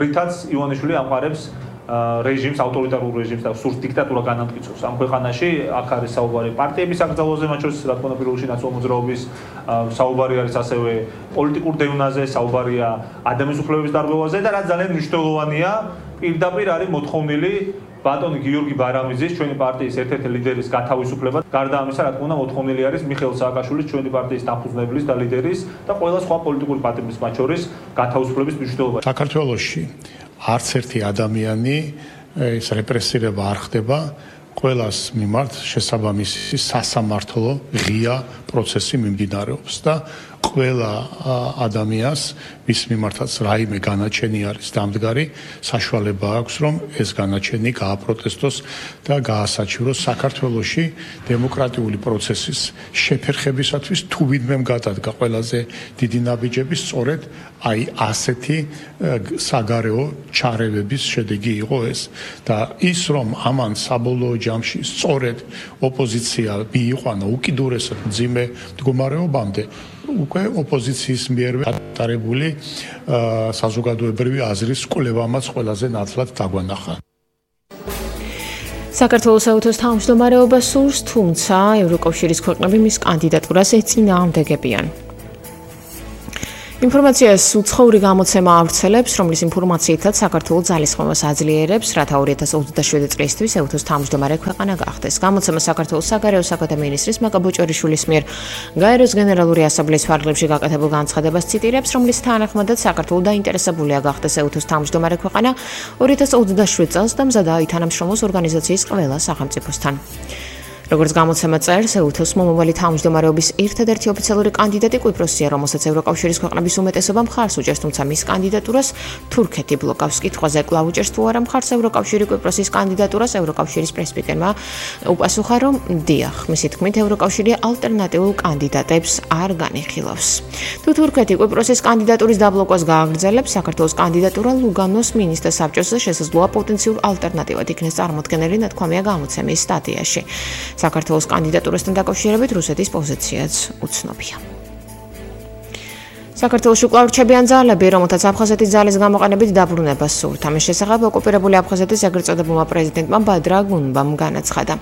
რითაც ივანიშვილი ამყარებს რეჟიმს, ავტორიტარულ რეჟიმს და სურს დიქტატურა განამტკიცოს ამ ქვეყანაში. აქ არის საუბარი პარტიების აკრძალვაზე, მათ შორის რა თქმა უნდა პირველში ნაციონალური მოძრაობის საუბარი არის ასევე პოლიტიკურ დევნაზე, საუბარია ადამიანის უფლებების დარღვევაზე და რაც ძალიან მნიშვნელოვანია, პირდაპირ არის მოთხოვნილი ბატონი გიორგი ბარამიძის, ჩვენი პარტიის ერთ-ერთი ლიდერის გათავისუფლება. გარდა ამისა, რა თქმა უნდა, მოთხოვნილი არის მიხეილ სააკაშვილის, ჩვენი პარტიის დამფუძნებლის და ლიდერის და ყველა სხვა პოლიტიკური პარტიის მათ შორის გათავისუფლების მნიშვნელობა. საქართველოში არც ერთი ადამიანი ეს რეპრესირება არ ხდება, ყველას მიმართ შესაბამისი სასამართლო ღია პროცესი მიმდინარეობს და ყველა ადამიანს მის მიმართაც რაიმე განაჩენი არის დამდგარი, საშუალება აქვს, რომ ეს განაჩენი გააპროტესტოს და გაასაჩივროს საქართველოში დემოკრატიული პროცესის შეფერხებისათვის თუ ვინმე გადადგა ყველაზე დიდი ნაბიჯები სწორედ აი ასეთი საგარეო ჩარევების შედეგი იყო ეს და ის რომ ამან საბოლოო ჯამში სწორედ ოპოზიცია მიიყვანა უკიდურესად მძიმე მდგომარეობამდე უკვე ოპოზიციის მიერვე ატარებული საზოგადოებრივი აზრის კვლევამაც ყველაზე ნათლად დაგვანახა. საქართველოს საერთოს თავმჯდომარეობას სურს, თუმცა ევროკავშირის ქვეყნები მის კანდიდატურას ეწინააღმდეგებიან. ინფორმაციას უცხოური გამოცემა ავრცელებს, რომლის ინფორმაციითაც საქართველოს ძალისხმევას აძლიერებს, რათა ორი ათას ოცდაშვიდი წლისთვის ეუთოს თავმჯდომარე ქვეყანა გახდეს. გამოცემა საქართველოს საგარეო საქმეთა მინისტრის მაკა ბოჭორიშვილის მიერ გაეროს გენერალური ასამბლეის ფარგლებში გაკეთებულ განცხადებას ციტირებს, რომლის თანახმადაც საქართველოს დაინტერესებულია გახდეს ეუთოს თავმჯდომარე ქვეყანა ორი ათას ოცდაშვიდ წელს და მზადაა ითანამშრომლოს ორგანიზაციის ყველა სახელმწიფოსთან. როგორც გამოცემა წერს, ეუთოს მომავალი თავმჯდომარეობის ერთადერთი ოფიციალური კანდიდატი კვიპროსია, რომელსაც ევროკავშირის ქვეყნების უმეტესობა მხარს უჭერს, თუმცა მის კანდიდატურას თურქეთი ბლოკავს. კითხვაზე კვლავ უჭერს თუ არა მხარს ევროკავშირი კვიპროსის კანდიდატურას, ევროკავშირის პრესპიკერმა უპასუხა, რომ დიახ, მისი თქმით, ევროკავშირი ალტერნატიულ კანდიდატებს არ განიხილავს. თუ თურქეთი კვიპროსის კანდიდატურის დაბლოკვას გააგრძელებს, საქართველოს კანდიდატურა ლუგანოს მინისტრთა საბჭოს შესაძლოა პოტენციურ ალტერნატივად იქნეს წარმოქმნილი, ნათქვამია გამოცემის სტატიაში. საქართველოს კანდიდატურასთან დაკავშირებით რუსეთის პოზიციაც უცნობია. საქართველოში კვლავ რჩებიან ძალები, რომელთაც აფხაზეთის ძალის გამოყენებით დაბრუნებას სურთ. ამის შესახებ ოკუპირებული აფხაზეთის ეგრეთ წოდებულმა პრეზიდენტმა ბადრა გუნბამ განაცხადა.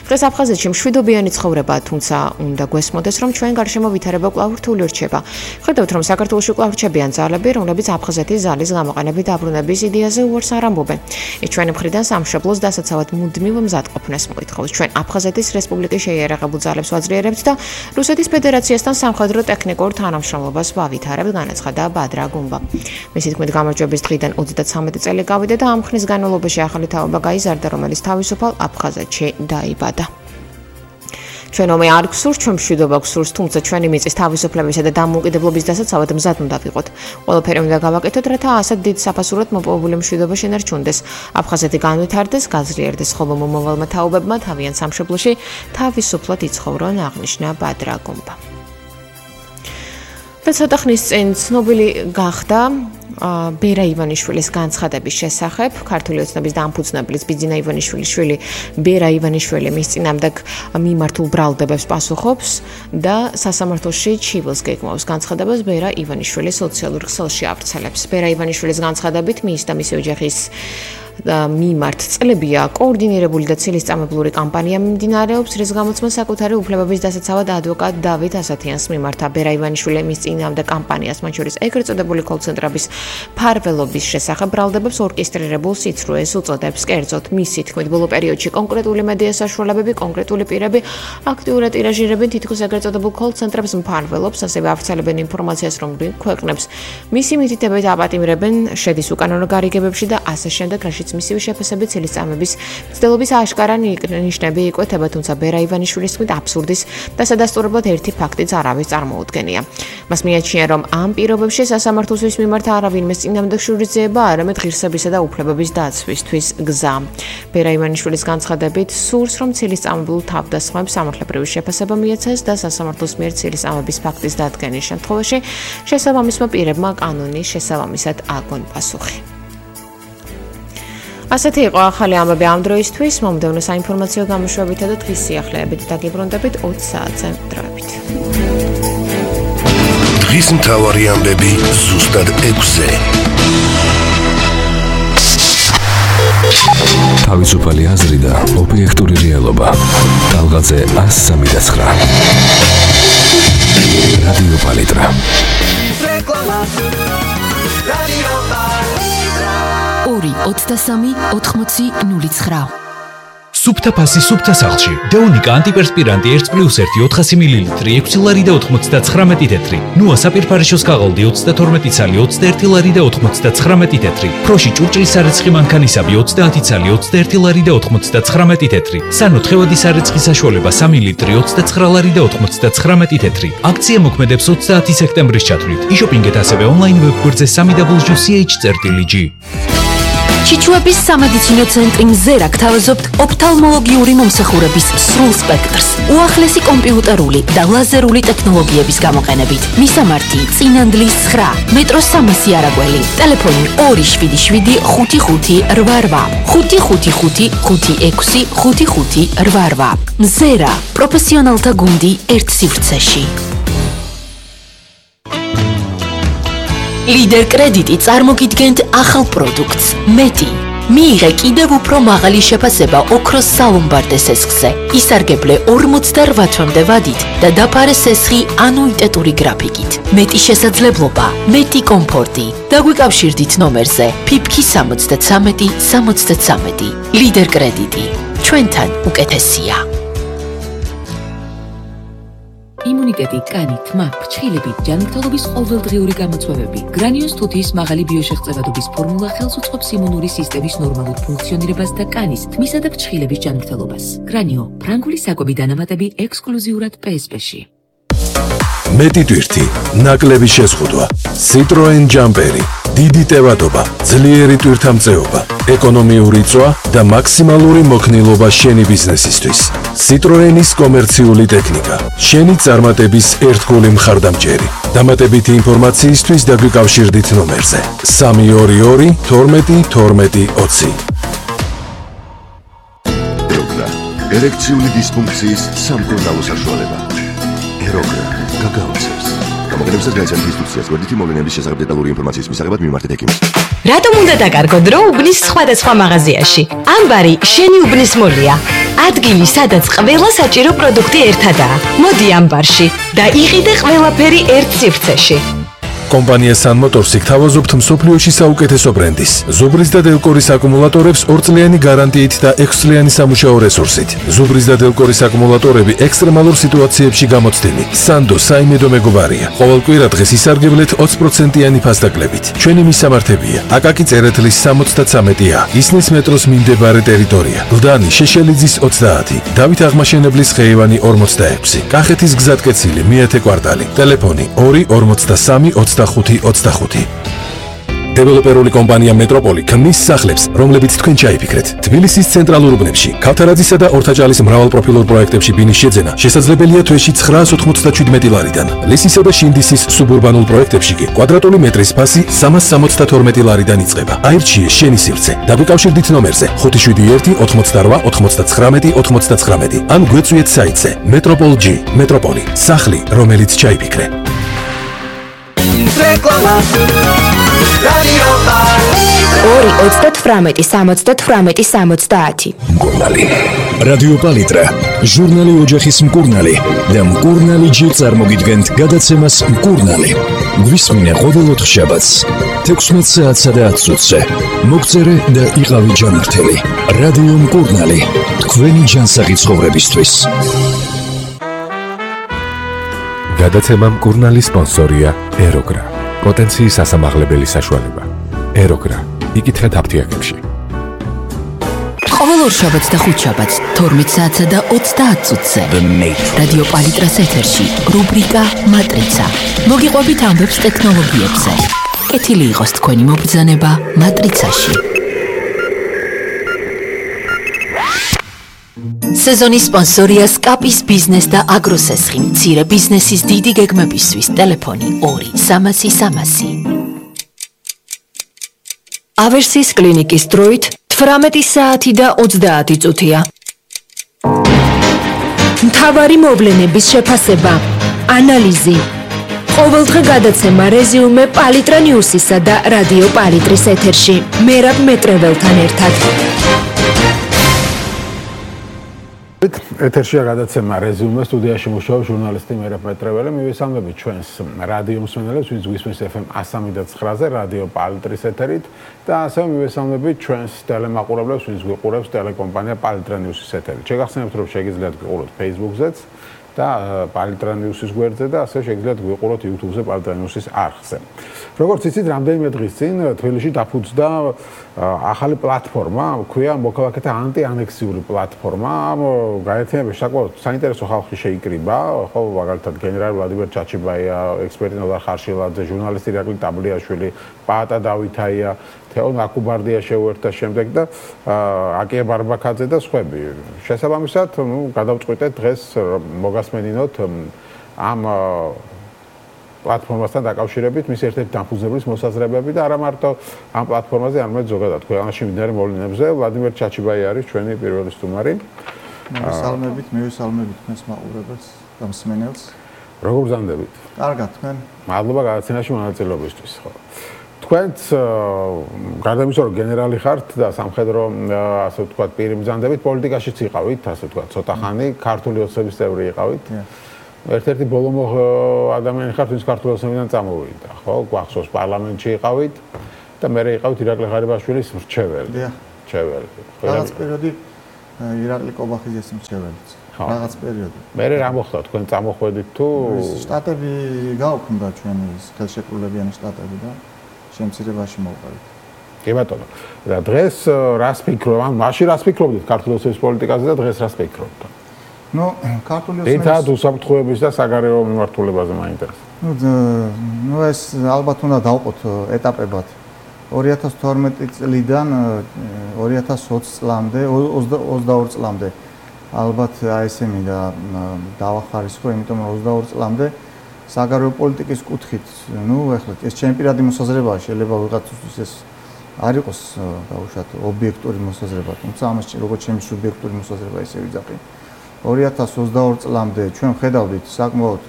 დღეს აფხაზეთში მშვიდობიანი ცხოვრება, თუმცა უნდა გვესმოდეს, რომ ჩვენ გარშემო ვითარება კვლავ რთული რჩება. ხედავთ, რომ საქართველოში კვლავ რჩებიან ძალები, რომლებიც აფხაზეთის ძალის გამოყენებით დაბრუნების იდეაზე უარს არ ამბობენ. ის ჩვენი მხრიდან სამშობლოს დასაცავად მუდმივ მზადყოფნას მოითხოვს. ჩვენ აფხაზეთის რესპუბლიკის შეიარაღებულ ძალებს ვაძლიერებთ და რუსეთის ფედერაციასთან სამხედრო ტექნიკურ თანამშრომლობას ვავითარებთ. განაცხადა ბადრა გუნბა. მისი თქმით, გამარჯვების დღიდან ოცდათვრამეტი წელი გავიდა და ამ ხნის განმავლობაში ახალი თაობა გაიზარდა, რომელიც თავისუფალ აფხაზეთში დაიბადა. ჩვენ ომი არ გსურს, ჩვენ მშვიდობა გსურს, თუმცა ჩვენი მიწის თავისუფლებისა და დამოუკიდებლობის დასაცავად მზად უნდა ვიყოთ. ყველაფერი უნდა გავაკეთოთ, რათა ასეთ დიდ საფასურად მოპოვებული მშვიდობა შენარჩუნდეს. აფხაზეთი განვითარდეს, გაძლიერდეს, ხოლო მომავალმა თაობებმა თავიანთ სამშობლოში თავისუფლად იცხოვრონ, აღნიშნა ბადრა გუნბა. ცოტა ხნის წინ ცნობილი გახდა ბერა ივანიშვილის განცხადების შესახებ. ქართული ოცნების დამფუძნებლის ბიძინა ივანიშვილის შვილი ბერა ივანიშვილი მის წინამდეგ მიმართულ ბრალდებებს პასუხობს და სასამართლოში ჩივილს გეგმავს. განცხადებას ბერა ივანიშვილი სოციალურ ქსელში ავრცელებს. ბერა ივანიშვილის განცხადებით მის და მისი ოჯახის მიმართ წლებია კოორდინირებული და ცილისწამებლური კამპანია მიმდინარეობს, რის გამოც მას საკუთარი უფლებების დასაცავად ადვოკატ დავით ასათიანს მიმართა ბერა ივანიშვილი მის წინააღმდეგ კამპანიას, მათ შორის ეგრეთ წოდებული კოლ-ცენტრების ფარველობის შესახებ ბრალდებებს ორკესტრირებულ სიცრუეს უწოდებს. კერძოდ, მისი თქმით, ბოლო პერიოდში კონკრეტული მედია საშუალებები, კონკრეტული პირები აქტიურად ტირაჟირებენ თითქოს ეგრეთ წოდებულ კოლ-ცენტრებს მფარველობს, ასევე ავრცელებენ ინფორმაციას, რომ ქვეყნებს მისი მითითებით აპატიმრებენ, შედის უკანონო გარიგებებში და ასე შემდეგ, რაშიც მისივე შეფასებით ცილისწამების მცდელობის აშკარა ნიშნები იკვეთება, თუმცა ბერა ივანიშვილის თქმით აბსურდის დასადასტურებლად ერთი ფაქტიც არავის წარმოუდგენია. მას მიაჩნია, რომ ამ პირობებში სასამართლოსთვის მიმართ არავინმე წინააღმდეგ შურისძიება, არამედ ღირსებისა და უფლებების დაცვისთვის გზა. ბერა ივანიშვილის განცხადებით, სურს, რომ ცილისწამებულ თავდასხმებს სამართლებრივი შეფასება მიეცეს და სასამართლოს მიერ ცილისწამების ფაქტის დადგენის შემთხვევაში შესაბამისმა პირებმა კანონის შესაბამისად აგონ პასუხი. ასეთი იყო ახალი ამბები ამ დროისთვის, მომდევნო საინფორმაციო გამოშვებითა და დღის სიახლეებით დაგიბრუნდებით ოცი საათზე დროებით. დღის მთავარი ამბები ზუსტად ექვსზე. თავისუფალი აზრი და ობიექტური რეალობა. ტალღაზე ას სამი და ცხრა. რადიო პალიტრა. ორი ოცდასამი ოთხმოცი ნული ცხრა. სუფთა ფასი სუფთა სახლში. დეონიკა ანტიპერსპირანტი ერთი პლუს ერთი ოთხასი მილილიტრი ექვსი ლარი და ოცდათხრამეტი თეთრი. ნუა საპირფარეშოს კაღოლდი ოცდათორმეტი ცალი ოცდაერთი ლარი და ოცდათხრამეტი თეთრი. ფროში ჭურჭლის სარეცხი მანქანისაბი ოცდაათი ცალი ოცდაერთი ლარი და ოცდათხრამეტი თეთრი. სანო თხევადი სარეცხი საშუალება სამი ლიტრი ოცდაცხრა ლარი და ოცდათხრამეტი თეთრი. აქცია მოქმედებს ოცდაათი სექტემბრის ჩათვლით. იშოპინგეთ ასევე ონლაინ ვებგვერდზე სამი დაბლ ю სი ეიჩ წერტილი ჯი. ჩიჩუების სამედიცინო ცენტრი მზერა გთავაზობთ ოფთალმოლოგიური მომსახურების სრულ სპექტრს, უახლესი კომპიუტერული და ლაზერული ტექნოლოგიების გამოყენებით. მისამართი წინანდლის ცხრა, მეტროს სამასი არაგველი, ტელეფონი ორი შვიდი შვიდი ხუთი ხუთი რვა რვა, ხუთი ხუთი ხუთი ხუთი ექვსი ხუთი ხუთი რვა რვა. მზერა, პროფესიონალთა გუნდი ერთ სივრცეში. ლიდერ კრედიტი წარმოგიდგენთ ახალ პროდუქტს მეტი. მიიღე კიდევ უფრო მაღალი შეფასება ოქროს სალომბარდე სესხზე. ისარგებლე ორმოცდარვა თვემდე ვადით და დაფარე სესხი ანუიტეტური გრაფიკით. მეტი შესაძლებლობა, მეტი კომფორტი. დაგვიკავშირდით ნომერზე ფიფქი სამოცდათრამეტი სამოცდათრამეტი. ლიდერ კრედიტი. ჩვენთან უკეთესია. იმუნიტეტი, კანი, თმა, ფრჩხილები, ჯანმრთელობის ყოველდღიური გამოწვევები. გრანიოს თუთიის მაღალი ბიოშეღწევადობის ფორმულა ხელს უწყობს იმუნური სისტემის ნორმალურ ფუნქციონირებას და კანის, თმისა და ფრჩხილების ჯანმრთელობას. გრანიო, ფრანგული საკვები დანამატები ექსკლუზიურად პე ეს პე-ში. მეტი ტვირთი, ნაკლები შეზღუდვა, Citroen ჯამპერი, დიდი ტევადობა, ძლიერი ტვირთამწეობა, ეკონომიური წვა და მაქსიმალური მოქნილობა შენი ბიზნესისთვის. Citroenis კომერციული ტექნიკა, შენი წარმატების ერთგული მხარდამჭერი. დამატებითი ინფორმაციისთვის დაგვიკავშირდით ნომერზე სამი ორი ორი თორმეტი თორმეტი ოცი. ეროგრა, ერექციული დისფუნქციის სამკურნალო საშუალება. ეროგრა გაგაოცებს. გამოგონებისას გაიცანთ ინსტრუქციას, გვერდითი მოვლენების შესახებ დეტალური ინფორმაციის მისაღებად მიმართეთ ექიმს. რატომ უნდა დაკარგოთ დრო უბნის სხვადასხვა მაღაზიაში? ამბარი შენი უბნის მოლია. ადგილი, სადაც ყველა საჭირო პროდუქტი ერთადაა. მოდი ამბარში და იყიდე ყველაფერი ერთ სივრცეში. კომპანია Sun Motors-ი გთავაზობთ მსოფლიოში საუკეთესო ბრენდის, ზუბრის და დელკორის აკუმულატორებს ორწლიანი გარანტიით და ექვსწლიანი სამუშაო რესურსით. ზუბრის და დელკორის აკუმულატორები ექსტრემალურ სიტუაციებში გამოცდილი. Sando საიმედო მეგობარია. ყოველ კვირა დღეს ისარგებლეთ ოცი პროცენტიანი ფასდაკლებით. ჩვენი მისამართებია: აკაკი წერეთლის სამოცდათრამეტი ა, ისნის მეტროს მიმდებარე ტერიტორია, გლდანი შეშელიძის ოცდაათი, დავით აღმაშენებლის ხეივანი ორმოცდაექვსი, კახეთის გზატკეცილი მეათე კვარტალი, ტელეფონი ორი ორმოცდასამი ოცდახუთი ოცდახუთი. დეველოპერული კომპანია მეტროპოლი ქმნის სახლებს, რომლებიც თქვენ ჩაიფიქრეთ. თბილისის ცენტრალურ უბნებში, ქავთარაძისა და ორთაჭალის მრავალპროფილურ პროექტებში ბინის შეძენა შესაძლებელია თვეში ცხრაას ოთხმოცდაშვიდი ლარიდან. ლისისა და შინდისის სუბურბანულ პროექტებში კი კვადრატული მეტრის ფასი სამას სამოცდათორმეტი ლარიდან იწყება. აირჩიე შენი სივრცე. დაგვიკავშირდით ნომერზე ხუთი შვიდი ერთი ოთხმოცდარვა ოთხმოცდათხრამეტი ოთხმოცდათხრამეტი ან გვეწვიეთ საიტზე მეტროპოლ ჯი. მეტროპოლი, სახლი, რომელიც ჩაიფიქრე. Reklama Radio Paletra ორი ოცდათვრამეტი სამოცდათვრამეტი სამოცდაათი. მკურნალი. რადიო პალიტრა, ჟურნალი ოჯახის მკურნალი და მკურნალი ჯერ წარმოგიდგენთ გადაცემას მკურნალი. გვისმინე ყოველ ოთხშაბათს თექვსმეტ საათსა და ათს წუთზე. მოგწერე და იყავი ჯანმრთელი. რადიო მკურნალი, თქვენი ჯანსაღი ცხოვრებისთვის. გადაცემა მკურნალი სპონსორია ეროგრა. პოტენციის ასამაღლებელი საშუალება. ეროგრა. იკითხეთ აფთიაქებში. ყოველ ორშაბათს და ხუთშაბათს თორმეტ საათსა და ოცდაათ წუთზე რადიო პალიტრას ეთერში რუბრიკა მატრიცა. მოგიყვებით ამბებს ტექნოლოგიებზე. კეთილი იყოს თქვენი მობრძანება მატრიცაში. სეზონის სპონსორია სკაპის ბიზნეს და აგროსესხი. მცირე ბიზნესის დიდი გეგმებისთვის ტელეფონი ორი სამასი სამასი. ავერსის კლინიკის დროით თვრამეტი საათი და ოცდაათი წუთია. მთავარი მოვლენების შეფასება, ანალიზი. ყოველდღე გადაცემა რეზიუმე პალიტრა ნიუსისა და რადიო პალიტრის ეთერში. მერაბ მეტრეველთან ერთად. ეთერშია გადაცემა რეზიუმე, სტუდიაში მუშაობს ჟურნალისტი მერაბ მეტრეველი. მივესალმებით ჩვენს რადიო მსმენელებს, ვინც გვისმენს ეფ ემ one oh three ზე რადიო პალიტრის ეთერით და ასევე მივესალმებით ჩვენს ტელემაყურებლებს, ვინც გვიყურებს ტელეკომპანია პალიტრა ნიუსის ეთერით. შეგახსენებთ, რომ შეგიძლიათ გვიყუროთ Facebook-ზეც და პალიტრა ნიუსის გვერდზე და ასევე შეგიძლიათ გვიყუროთ YouTube-ზე პალიტრა ნიუსის არხზე. როგორც იცით, რამდენიმე დღის წინ თბილისში დაფუძნდა ახალი პლატფორმა, ქვია მოქალაქეთა ანტიანექსიური პლატფორმა. გაერთიანებაში საკმაოდ საინტერესო ხალხი შეიკრიბა, ხო, მაგალითად გენერალი ვლადიმერ ჩაჩიბაია, ექსპერტი ნოდარ ხარშილაძე, ჟურნალისტი ირაკლი ტაბლიაშვილი, პაატა დავითაია, თეონ აკუბარდია შეუერთდა შემდეგ და აკია ბარბაქაძე და სხვები. შესაბამისად, ნუ გადავწყვიტეთ დღეს მოგასმენინოთ ამ პლატფორმასთან დაკავშირებით მის ერთ-ერთი დამფუძნებლის მოსაზრებები და არა მარტო ამ პლატფორმაზე, არამედ ზოგადად ქვეყანაში მიმდინარე მოვლენებზე. ვლადიმერ ჩაჩიბაია არის ჩვენი პირველი სტუმარი. მივესალმებით, მივესალმებით თქვენს მაყურებელს და მსმენელს. როგორ ბრძანდებით? კარგად, თქვენ? მადლობა გადაცემაში მონაწილეობისთვის, ხო. თქვენც გარდა იმისა, რომ გენერალი ხართ და სამხედრო, ასე ვთქვათ, პირი ბრძანდებით, პოლიტიკაშიც იყავით, ასე ვთქვათ, ცოტა ხანი, ქართული ოცნების წევრი იყავით. ერთ-ერთი ბოლომო ადამიანი ხართ, ვინც ქართული ოცნებიდან წამოვიდა, ხო? გვახსოვს პარლამენტში იყავით და მერე იყავით ირაკლი ღარიბაშვილის მრჩეველი. დიახ. მრჩეველი. რაღაც პერიოდი ირაკლი კობახიძის მრჩეველი. რაღაც პერიოდი. მერე რა მოხდა თქვენ წამოხვედით თუ შტატები გაუქმდა ჩვენი ხელშეკრულებიანი შტატები და შემცირებაში მოვყავით. კი ბატონო. და დღეს რას ფიქრობ? ან მაშინ რას ფიქრობდით ქართული ოცნების პოლიტიკაზე და დღეს რას ფიქრობთ? ნუ ქართული ოცნების ერთად უსაფრთხოების და საგარეო მიმართულებაზე მაინტერესებს. ნუ ნუ ეს ალბათ უნდა დავყოთ ეტაპებად. ორი ათას თორმეტი წლიდან ორი ათას ოცი წლამდე, ოცდაორი წლამდე ალბათ აი ესენი და დავახარისხო, იმიტომ რომ ოცდაორი წლამდე საგარეო პოლიტიკის კუთხით, ნუ ეხლა ეს ჩემი პირადი მოსაზრებაა, შეიძლება ვიღაცისთვის ეს არ იყოს დაუშვათ ობიექტური მოსაზრება, თუმცა ამას როგორც ჩემი სუბიექტური მოსაზრება ისე ვიძახი. ორი ათას ოცდაორი წლამდე ჩვენ ხედავდით საკმაოდ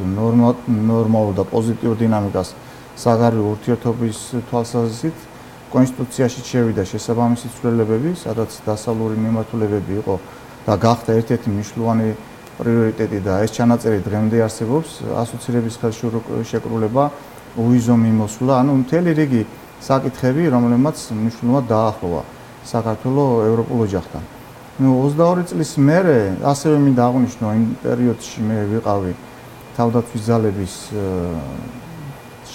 ნორმალურ და პოზიტიურ დინამიკას საგარეო ურთიერთობის თვალსაზრისით. კონსტიტუციაში შევიდა შესაბამისი ცვლილებები, სადაც დასავლური მიმართულებები იყო და გახდა ერთ-ერთი მნიშვნელოვანი პრიორიტეტი და ეს ჩანაწერი დღემდე არსებობს, ასოცირების ხელშეკრულება, უვიზო მიმოსვლა, ანუ მთელი რიგი საკითხები, რომლებმაც მნიშვნელოვნად დაახლოვა საქართველოს ევროპულ ოჯახთან. ნუ ოცდაორი წლის მერე ასევე მინდა აღვნიშნო, იმ პერიოდში მე ვიყავი თავდაცვის ძალების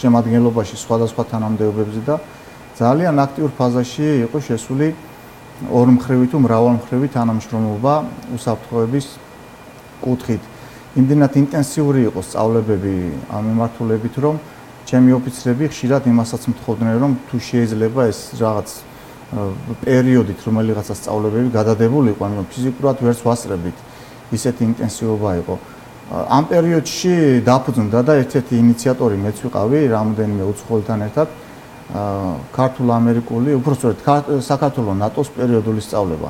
შემადგენლობაში სხვადასხვა თანამდებობებზე და ძალიან აქტიურ ფაზაში იყო შესული ორმხრივი თუ მრავალმხრივი თანამშრომლობა უსაფრთხოების კუთხით. იმდენად ინტენსიური იყო სწავლებები ამ მიმართულებით, რომ ჩემი ოფიცრები ხშირად იმასაც მთხოვდნენ, რომ თუ შეიძლება ეს რაღაც პერიოდით რომელიღაცა სწავლებები გადადებულიყო, ანუ ფიზიკურად ვერც ვასწრებით, ისეთი ინტენსივობა იყო. ამ პერიოდში დაფუძნდა და ერთ-ერთი ინიციატორი მეც ვიყავი, რამდენიმე უცხოელთან ერთად ქართულ-ამერიკული, უпростоრედ საქართველოს ნატოს პერიოდული სწავლება,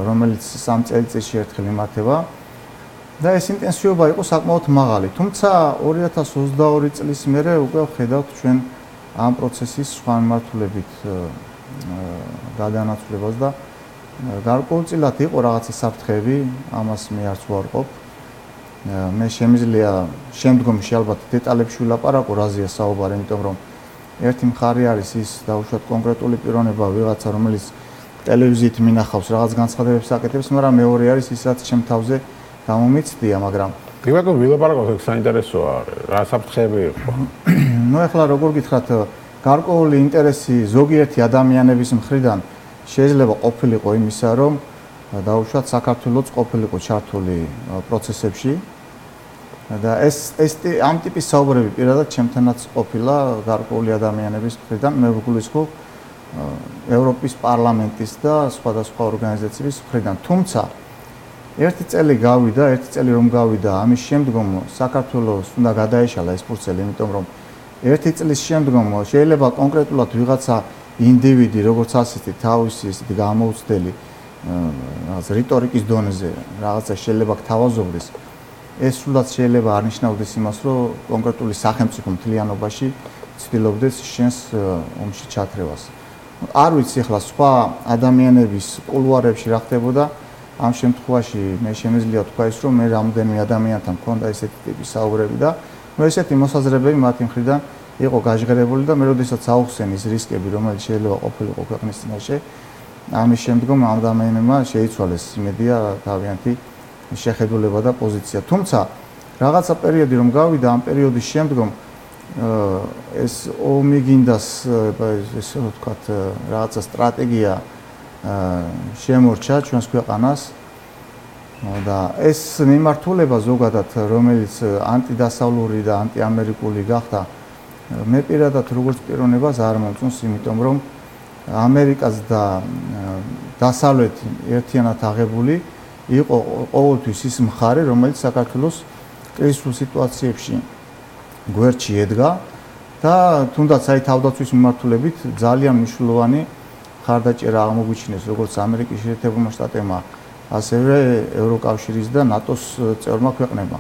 რომელიც სამ წელიწადში ერთხელ იმართება და ეს ინტენსივობა იყო საკმაოდ მაღალი. თუმცა ორი ათას ოცდაორი წლის მერე უკვე ვხედავთ ჩვენ ამ პროცესის სხვა მიმართულებით გადანაცვლებას და გარკვეულწილად იყო რაღაცა საფრთხეები, ამას მე არც ვარყოფ. მე შემიძლია შემდგომში ალბათ დეტალებში ვილაპარაკო რაზეა საუბარი, იმიტომ რომ ერთი მხარე არის ის დაუშვათ კონკრეტული პიროვნება ვიღაცა, რომელიც ტელევიზიით მინახავს რაღაც განცხადებებს აკეთებს, მაგრამ მეორე არის ის, რაც ჩემ თავზე გამომიცდია, მაგრამ კი ბატონო, ვილაპარაკოთ, ეს საინტერესოა, რა საფრთხეები იყო. ნუ ახლა როგორ გითხრათ, გარკვეული ინტერესი ზოგიერთი ადამიანების მხრიდან შეიძლება ყოფილიყო იმისა, რომ დაუშვათ საქართველოს ყოფილიყო ჩართული პროცესებში და ეს ეს ამ ტიპის საუბრები პირადად ჩემთანაც ყოფილა გარკვეული ადამიანების მხრიდან, მე ვგულისხმობ ევროპის პარლამენტის და სხვადასხვა ორგანიზაციების მხრიდან. თუმცა ერთი წელი გავიდა, ერთი წელი რომ გავიდა, ამის შემდგომ საქართველოს უნდა გადაეშალა ეს პროცესი, იმიტომ რომ ერთი წლის შემდგომ შეიძლება კონკრეტულად ვიღაცა ინდივიდი, როგორც ასეთი თავისი ესეთი გამოუცდელი რაღაც რიტორიკის დონეზე რაღაცა შეიძლება გთავაზობდეს. ეს სულაც შეიძლება არნიშნავდეს იმას, რომ კონკრეტული სახელმწიფო მთლიანობაში ცდილობდეს შენს ომში ჩათრევას. არ ვიცი ახლა სხვა ადამიანების კულუარებში რა ხდებოდა, ამ შემთხვევაში მე შემიძლია თქვა ის, რომ მე რამდენიმე ადამიანთან მქონდა ესეთი ტიპის საუბრები და ნუ ესეთი მოსაზრებები მათი მხრიდან იყო გაჟღერებული და მე როდესაც აუხსენ ის რისკები, რომელიც შეიძლება ყოფილიყო ქვეყნის წინაშე, ამის შემდგომ ამ ადამიანებმა შეიცვალეს იმედია თავიანთი შეხედულება და პოზიცია. თუმცა რაღაცა პერიოდი რომ გავიდა, ამ პერიოდის შემდგომ ეს ომი გინდას ესე ვთქვათ რაღაცა სტრატეგია შემორჩა ჩვენს ქვეყანას და ეს მიმართულება ზოგადად რომელიც ანტიდასავლური და ანტიამერიკული გახდა, მე პირადად როგორც პიროვნებას არ მომწონს, იმიტომ რომ ამერიკას და დასავლეთი ერთიანად აღებული იყო ყოველთვის ის მხარე, რომელიც საქართველოს კრიზისულ სიტუაციებში გვერდში ედგა და თუნდაც აი თავდაცვის მიმართულებით ძალიან მნიშვნელოვანი ხარდაჭერა აღმოგვიჩინეს როგორც ამერიკის შეერთებულმა შტატებმა, ასევე ევროკავშირის და ნატოს წევრმა ქვეყნებმა.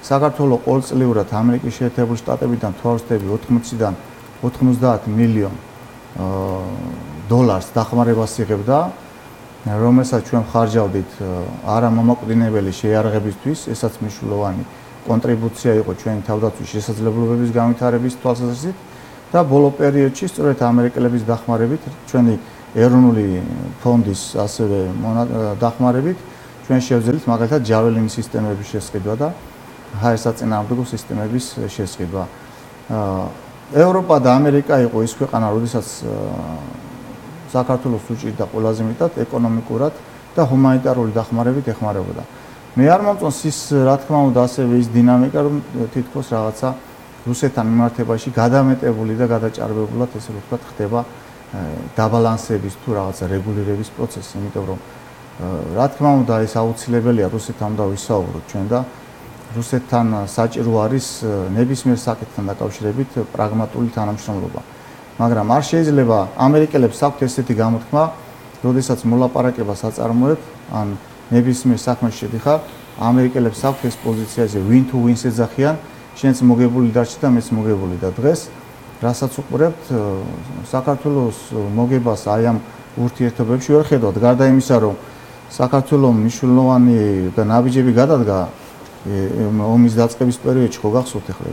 საქართველოს ყოველწლიურად ამერიკის შეერთებული შტატებიდან თვალსწრები ოთხმოციდან ოთხმოცდაათ მილიონ დოლარს დახმარებას იღებდა, რომელსაც ჩვენ ხარჯავდით არა მომაკვდინებელი შეიარაღებისთვის, ესაც მნიშვნელოვანი კონტრიბუცია იყო ჩვენი თავდაცვის შესაძლებლობების განვითარების თვალსაზრისით და ბოლო პერიოდში სწორედ ამერიკელების დახმარებით, ჩვენი ეროვნული ფონდის ასევე დახმარებით ჩვენ შევძელით მაგალითად ჯაველინის სისტემების შესყიდვა და ჰაერსაწინააღმდეგო სისტემების შესყიდვა. ევროპა და ამერიკა იყო ის ქვეყანა, როდესაც საქართველოს უჭირდა ყველაზე მეტად ეკონომიკურად და ჰუმანიტარული დახმარებით ეხმარებოდა. მე არ მომწონს ის, რა თქმა უნდა, ასევე ის დინამიკა, რომ თითქოს რაღაცა რუსეთთან მიმართებაში გადამეტებული და გადაჭარბებულად ესე ვთქვათ ხდება დაბალანსების თუ რაღაცა რეგულირების პროცესი, იმიტომ რომ რა თქმა უნდა ეს აუცილებელია რუსეთთან უნდა ვისაუბროთ ჩვენ და რუსეთთან საჭირო არის ნებისმიერ საკითხთან დაკავშირებით პრაგმატული თანამშრომლობა. მაგრამ არ შეიძლება ამერიკელებს აქვთ ესეთი გამოთქმა, როდესაც მოლაპარაკებას აწარმოებ, ან ნებისმიერ საქმეში შედიხარ, ამერიკელებს აქვთ ეს პოზიცია, ესე win to win ეძახიან, შენც მოგებული დარჩი და მეც მოგებული და დღეს რასაც უყურებთ, საქართველოს მოგებას აი ამ ურთიერთობებში ვერ ხედავთ, გარდა იმისა, რომ საქართველოს მნიშვნელოვანი და ნაბიჯები გადადგა ომის დაწყების პერიოდში, ხო გახსოვთ ახლა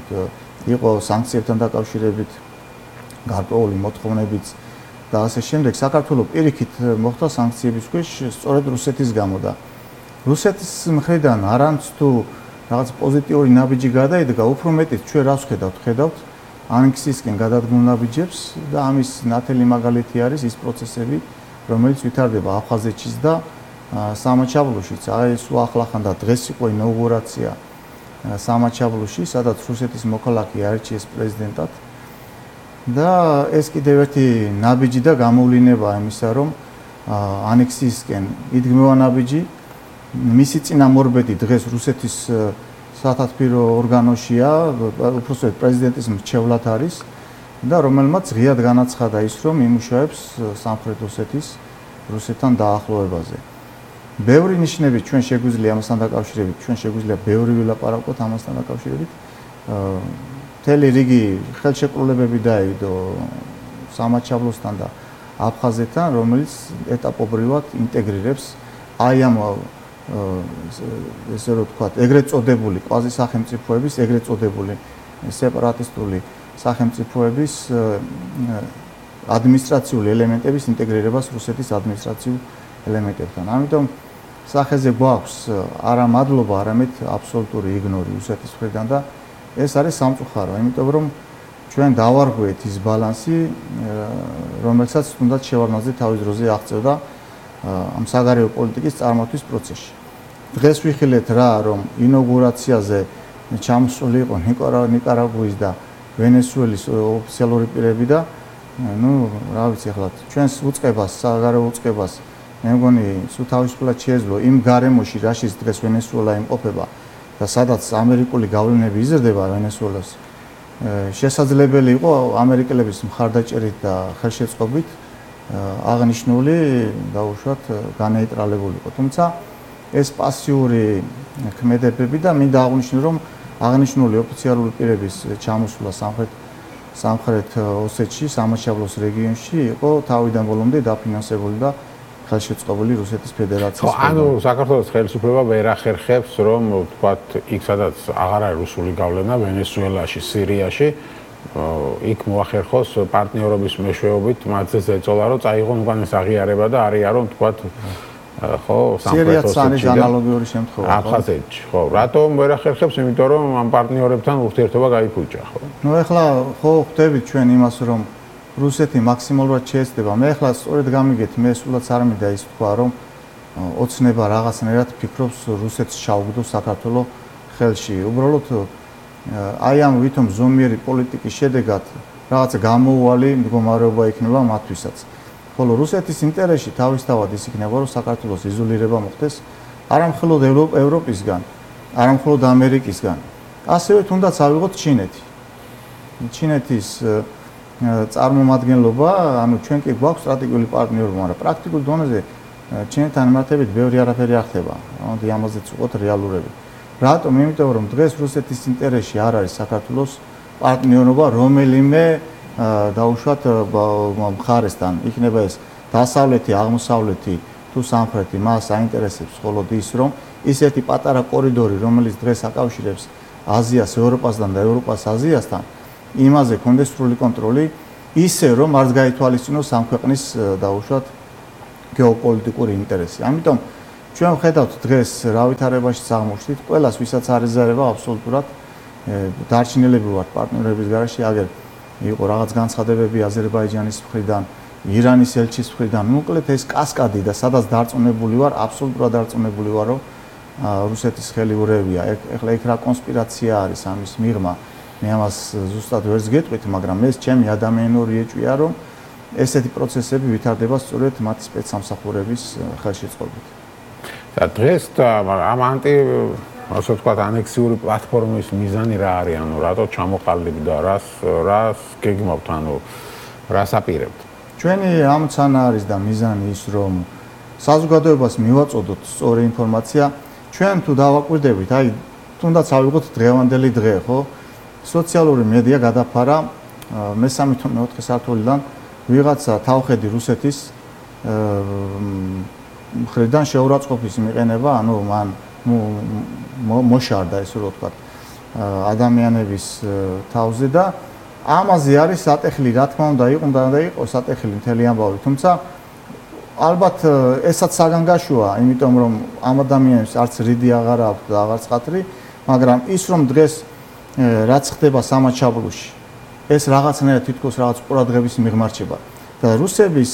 იყო სანქციებთან დაკავშირებით გარკვეული მოთხოვნებიც და ასე შემდეგ. საქართველოს პირიქით მოხდა სანქციების ქვეშ სწორედ რუსეთის გამო და რუსეთის მხრიდან არანც თუ რაღაც პოზიტიური ნაბიჯი გადაიდგა, უფრო მეტიც ჩვენ რას ვხედავთ? ხედავთ ანექსიისკენ გადადგმულ ნაბიჯებს და ამის ნათელი მაგალითი არის ის პროცესები, რომელიც ვითარდება აფხაზეთშიც და სამაჩაბლოშიც. აი ეს უახლახან და დღეს იყო ინაუგურაცია სამაჩაბლოში, სადაც რუსეთის მოქალაქე აირჩიეს პრეზიდენტად. და ეს კიდევ ერთი ნაბიჯი და გამოვლინებაა იმისა, რომ ანექსიისკენ იდგმევა ნაბიჯი, მისი წინამორბედი დღეს რუსეთის სათათბირო ორგანოშია, უпроსტოდ პრეზიდენტის მრჩევლად არის და რომელმაც ღიად განაცხადა ის, რომ იმუშავებს სამხრეთ ოსეთის რუსეთთან დაახლოებაზე. ბევრი ნიშნები ჩვენ შეგვიძლია ამასთან დაკავშირებით, ჩვენ შეგვიძლია ბევრი ვილაპარაკოთ ამასთან დაკავშირებით. მთელი რიგი ხელშეკრულებები დაიდო სამაჩაბლოსთან და აფხაზეთთან, რომელიც ეტაპობრივად ინტეგრირებს აი ამ ესე რომ ვთქვათ, ეგრეთ წოდებული კვაზი სახელმწიფოების, ეგრეთ წოდებული სეპარატისტული სახელმწიფოების ადმინისტრაციული ელემენტების ინტეგრირებას რუსეთის ადმინისტრაციულ ელემენტებთან. ამიტომ სახეზე გვაქვს არა მადლობა, არამედ აბსოლუტური იგნორი რუსეთის მხრიდან და ეს არის სამწუხარო, იმიტომ რომ ჩვენ დავარღვიეთ ის ბალანსი, რომელსაც თუნდაც შევარდნაძე თავის დროზე აღწევდა ამ საგარეო პოლიტიკის წარმოთვის პროცესში. დღეს ვიხილეთ რა, რომ ინაუგურაციაზე ჩამოსული იყო ნიკარაგუის და ვენესუელის ოფიციალური პირები და ну, რა ვიცი ახლა ჩვენს უწყებას, საგარეო უწყებას მე მგონი სულ თავისუფლად შეეძლო იმ გარემოში, რაშიც დღეს ვენესუელა იმყოფება და სადაც ამერიკული გავლენები იზრდება ვენესუელას. შესაძლებელი იყო ამერიკელების მხარდაჭერით და ხელშეწყობით აღნიშნული დაუშვათ განეიტრალებულიყო. თუმცა ეს პასიური ქმედებები და მინდა აღვნიშნო, რომ აღნიშნული ოფიციალური პირების ჩამოსვლა სამხრეთ სამხრეთ ოსეთში, სამაშაბლოს რეგიონში იყო თავიდან ბოლომდე დაფინანსებული და ხელშეწყობილი რუსეთის ფედერაციის. ხო, ანუ საქართველოს ხელისუფლება ვერ ახერხებს, რომ ვთქვათ, იქ სადაც აღარ არის რუსული გავლენა, ვენესუელაში, სირიაში, იქ მოახერხოს პარტნიორობის მეშვეობით მათზე ზეწოლა, რომ წაიღონ უკანეს აღიარება და არიარო, ვთქვათ, ხო, სამხრეთ ოსეთში ანალოგიური შემთხვევა. აფხაზეთში, ხო. რატომ ვერ ახერხებს? იმიტომ რომ ამ პარტნიორებთან ურთიერთობა გაიფუჭა, ხო? ნუ ეხლა ხო ხვდებით ჩვენ იმას, რომ რუსეთი მაქსიმალურად შეეცდება. მე ახლა სწორედ გამიგეთ, მე სულაც არ მინდა ის თქვა, რომ ოცნება რაღაცნაირად ფიქრობს რუსეთს ჩაუგდო საქართველოს ხელში. უბრალოდ აი ამ ვითომ ზომიერი პოლიტიკის შედეგად რაღაცა გამოუვალი მდგომარეობა იქნება მათთვისაც. ხოლო რუსეთის ინტერესში თავისთავად ის იქნება, რომ საქართველოს იზოლირება მოხდეს არა მხოლოდ ევროპისგან, არა მხოლოდ ამერიკისგან, ასევე თუნდაც ავიღოთ ჩინეთი. ჩინეთის წარმომადგენლობა, ანუ ჩვენ კი გვაქვს სტრატეგიული პარტნიორობა, მაგრამ პრაქტიკულ დონეზე ჩინეთთან მიმართებით ბევრი არაფერი არ ხდება. ამიტომ ამაზეც უყოთ რეალურები. რატომ? იმიტომ რომ დღეს რუსეთის ინტერესში არ არის საქართველოს პარტნიორობა რომელიმე დაუშვათ მხარესთან. იქნება ეს დასავლეთი, აღმოსავლეთი თუ სამხრეთი, მას აინტერესებს მხოლოდ ის, რომ ისეთი პატარა კორიდორი, რომელიც დღეს აკავშირებს აზიას ევროპასთან და ევროპას აზიასთან, იმაზე კონდეს სრული კონტროლი, ისე რომ არც გაითვალისწინოს ამ ქვეყნის დაუშვათ გეოპოლიტიკური ინტერესი. ამიტომ ჩვენ ვხედავთ დღეს რა ვითარებაში აღმოჩნდით, ყველას ვისაც არიზარება აბსოლუტურად დარჩენილები ვართ პარტნიორების გარშე, აგერ იყო რაღაც განცხადებები აზერბაიჯანის მხრიდან, ირანის ელჩის მხრიდან, მოკლედ ეს კასკადი და სადაც დარწმუნებული ვარ, აბსოლუტურად დარწმუნებული ვარ, რომ რუსეთის ხელი ურევია. ეხლა იქ რა კონსპირაცია არის ამის მიღმა, მე ამას ზუსტად ვერც გეტყვით, მაგრამ ეს ჩემი ადამიანური ეჭვია, რომ ესეთი პროცესები ვითარდება სწორედ მათი სპეცსამსახურების ხელშეწყობით. და დღეს ამ ანტი ასე ვთქვათ, ანექსიური პლატფორმის მიზანი რა არის? ანუ რატო ჩამოყალიბდა, რას რას გეგმავთ, ანუ რას აპირებთ? ჩვენი ამცანა არის და მიზანი ის, რომ საზოგადოებას მივაწოდოთ სწორი ინფორმაცია. ჩვენ თუ დავაკვირდებით, აი, თუნდაც ავიღოთ დღევანდელი დღე, ხო? სოციალური მედია გადაფარა მესამე თუ მეოთხე საათულიდან ვიღაცა თავხედი რუსეთის მხრიდან შეურაცხყოფის მიყენება, ანუ მან მოშარდა ესე რომ ვთქვათ ადამიანების თავზე და ამაზე არის სატეხილი, რა თქმა უნდა, იყო და იყო სატეხილი მთელი ამბავი, თუმცა ალბათ ესაც საგანგაშოა, იმიტომ რომ ამ ადამიანებს არც რიდი აღარ აქვს და აღარც ხათრი, მაგრამ ის რომ დღეს რაც ხდება სამაჩაბლოში, ეს რაღაცნაირად თითქოს რაღაც ყურადღების მიღმარჩება და რუსების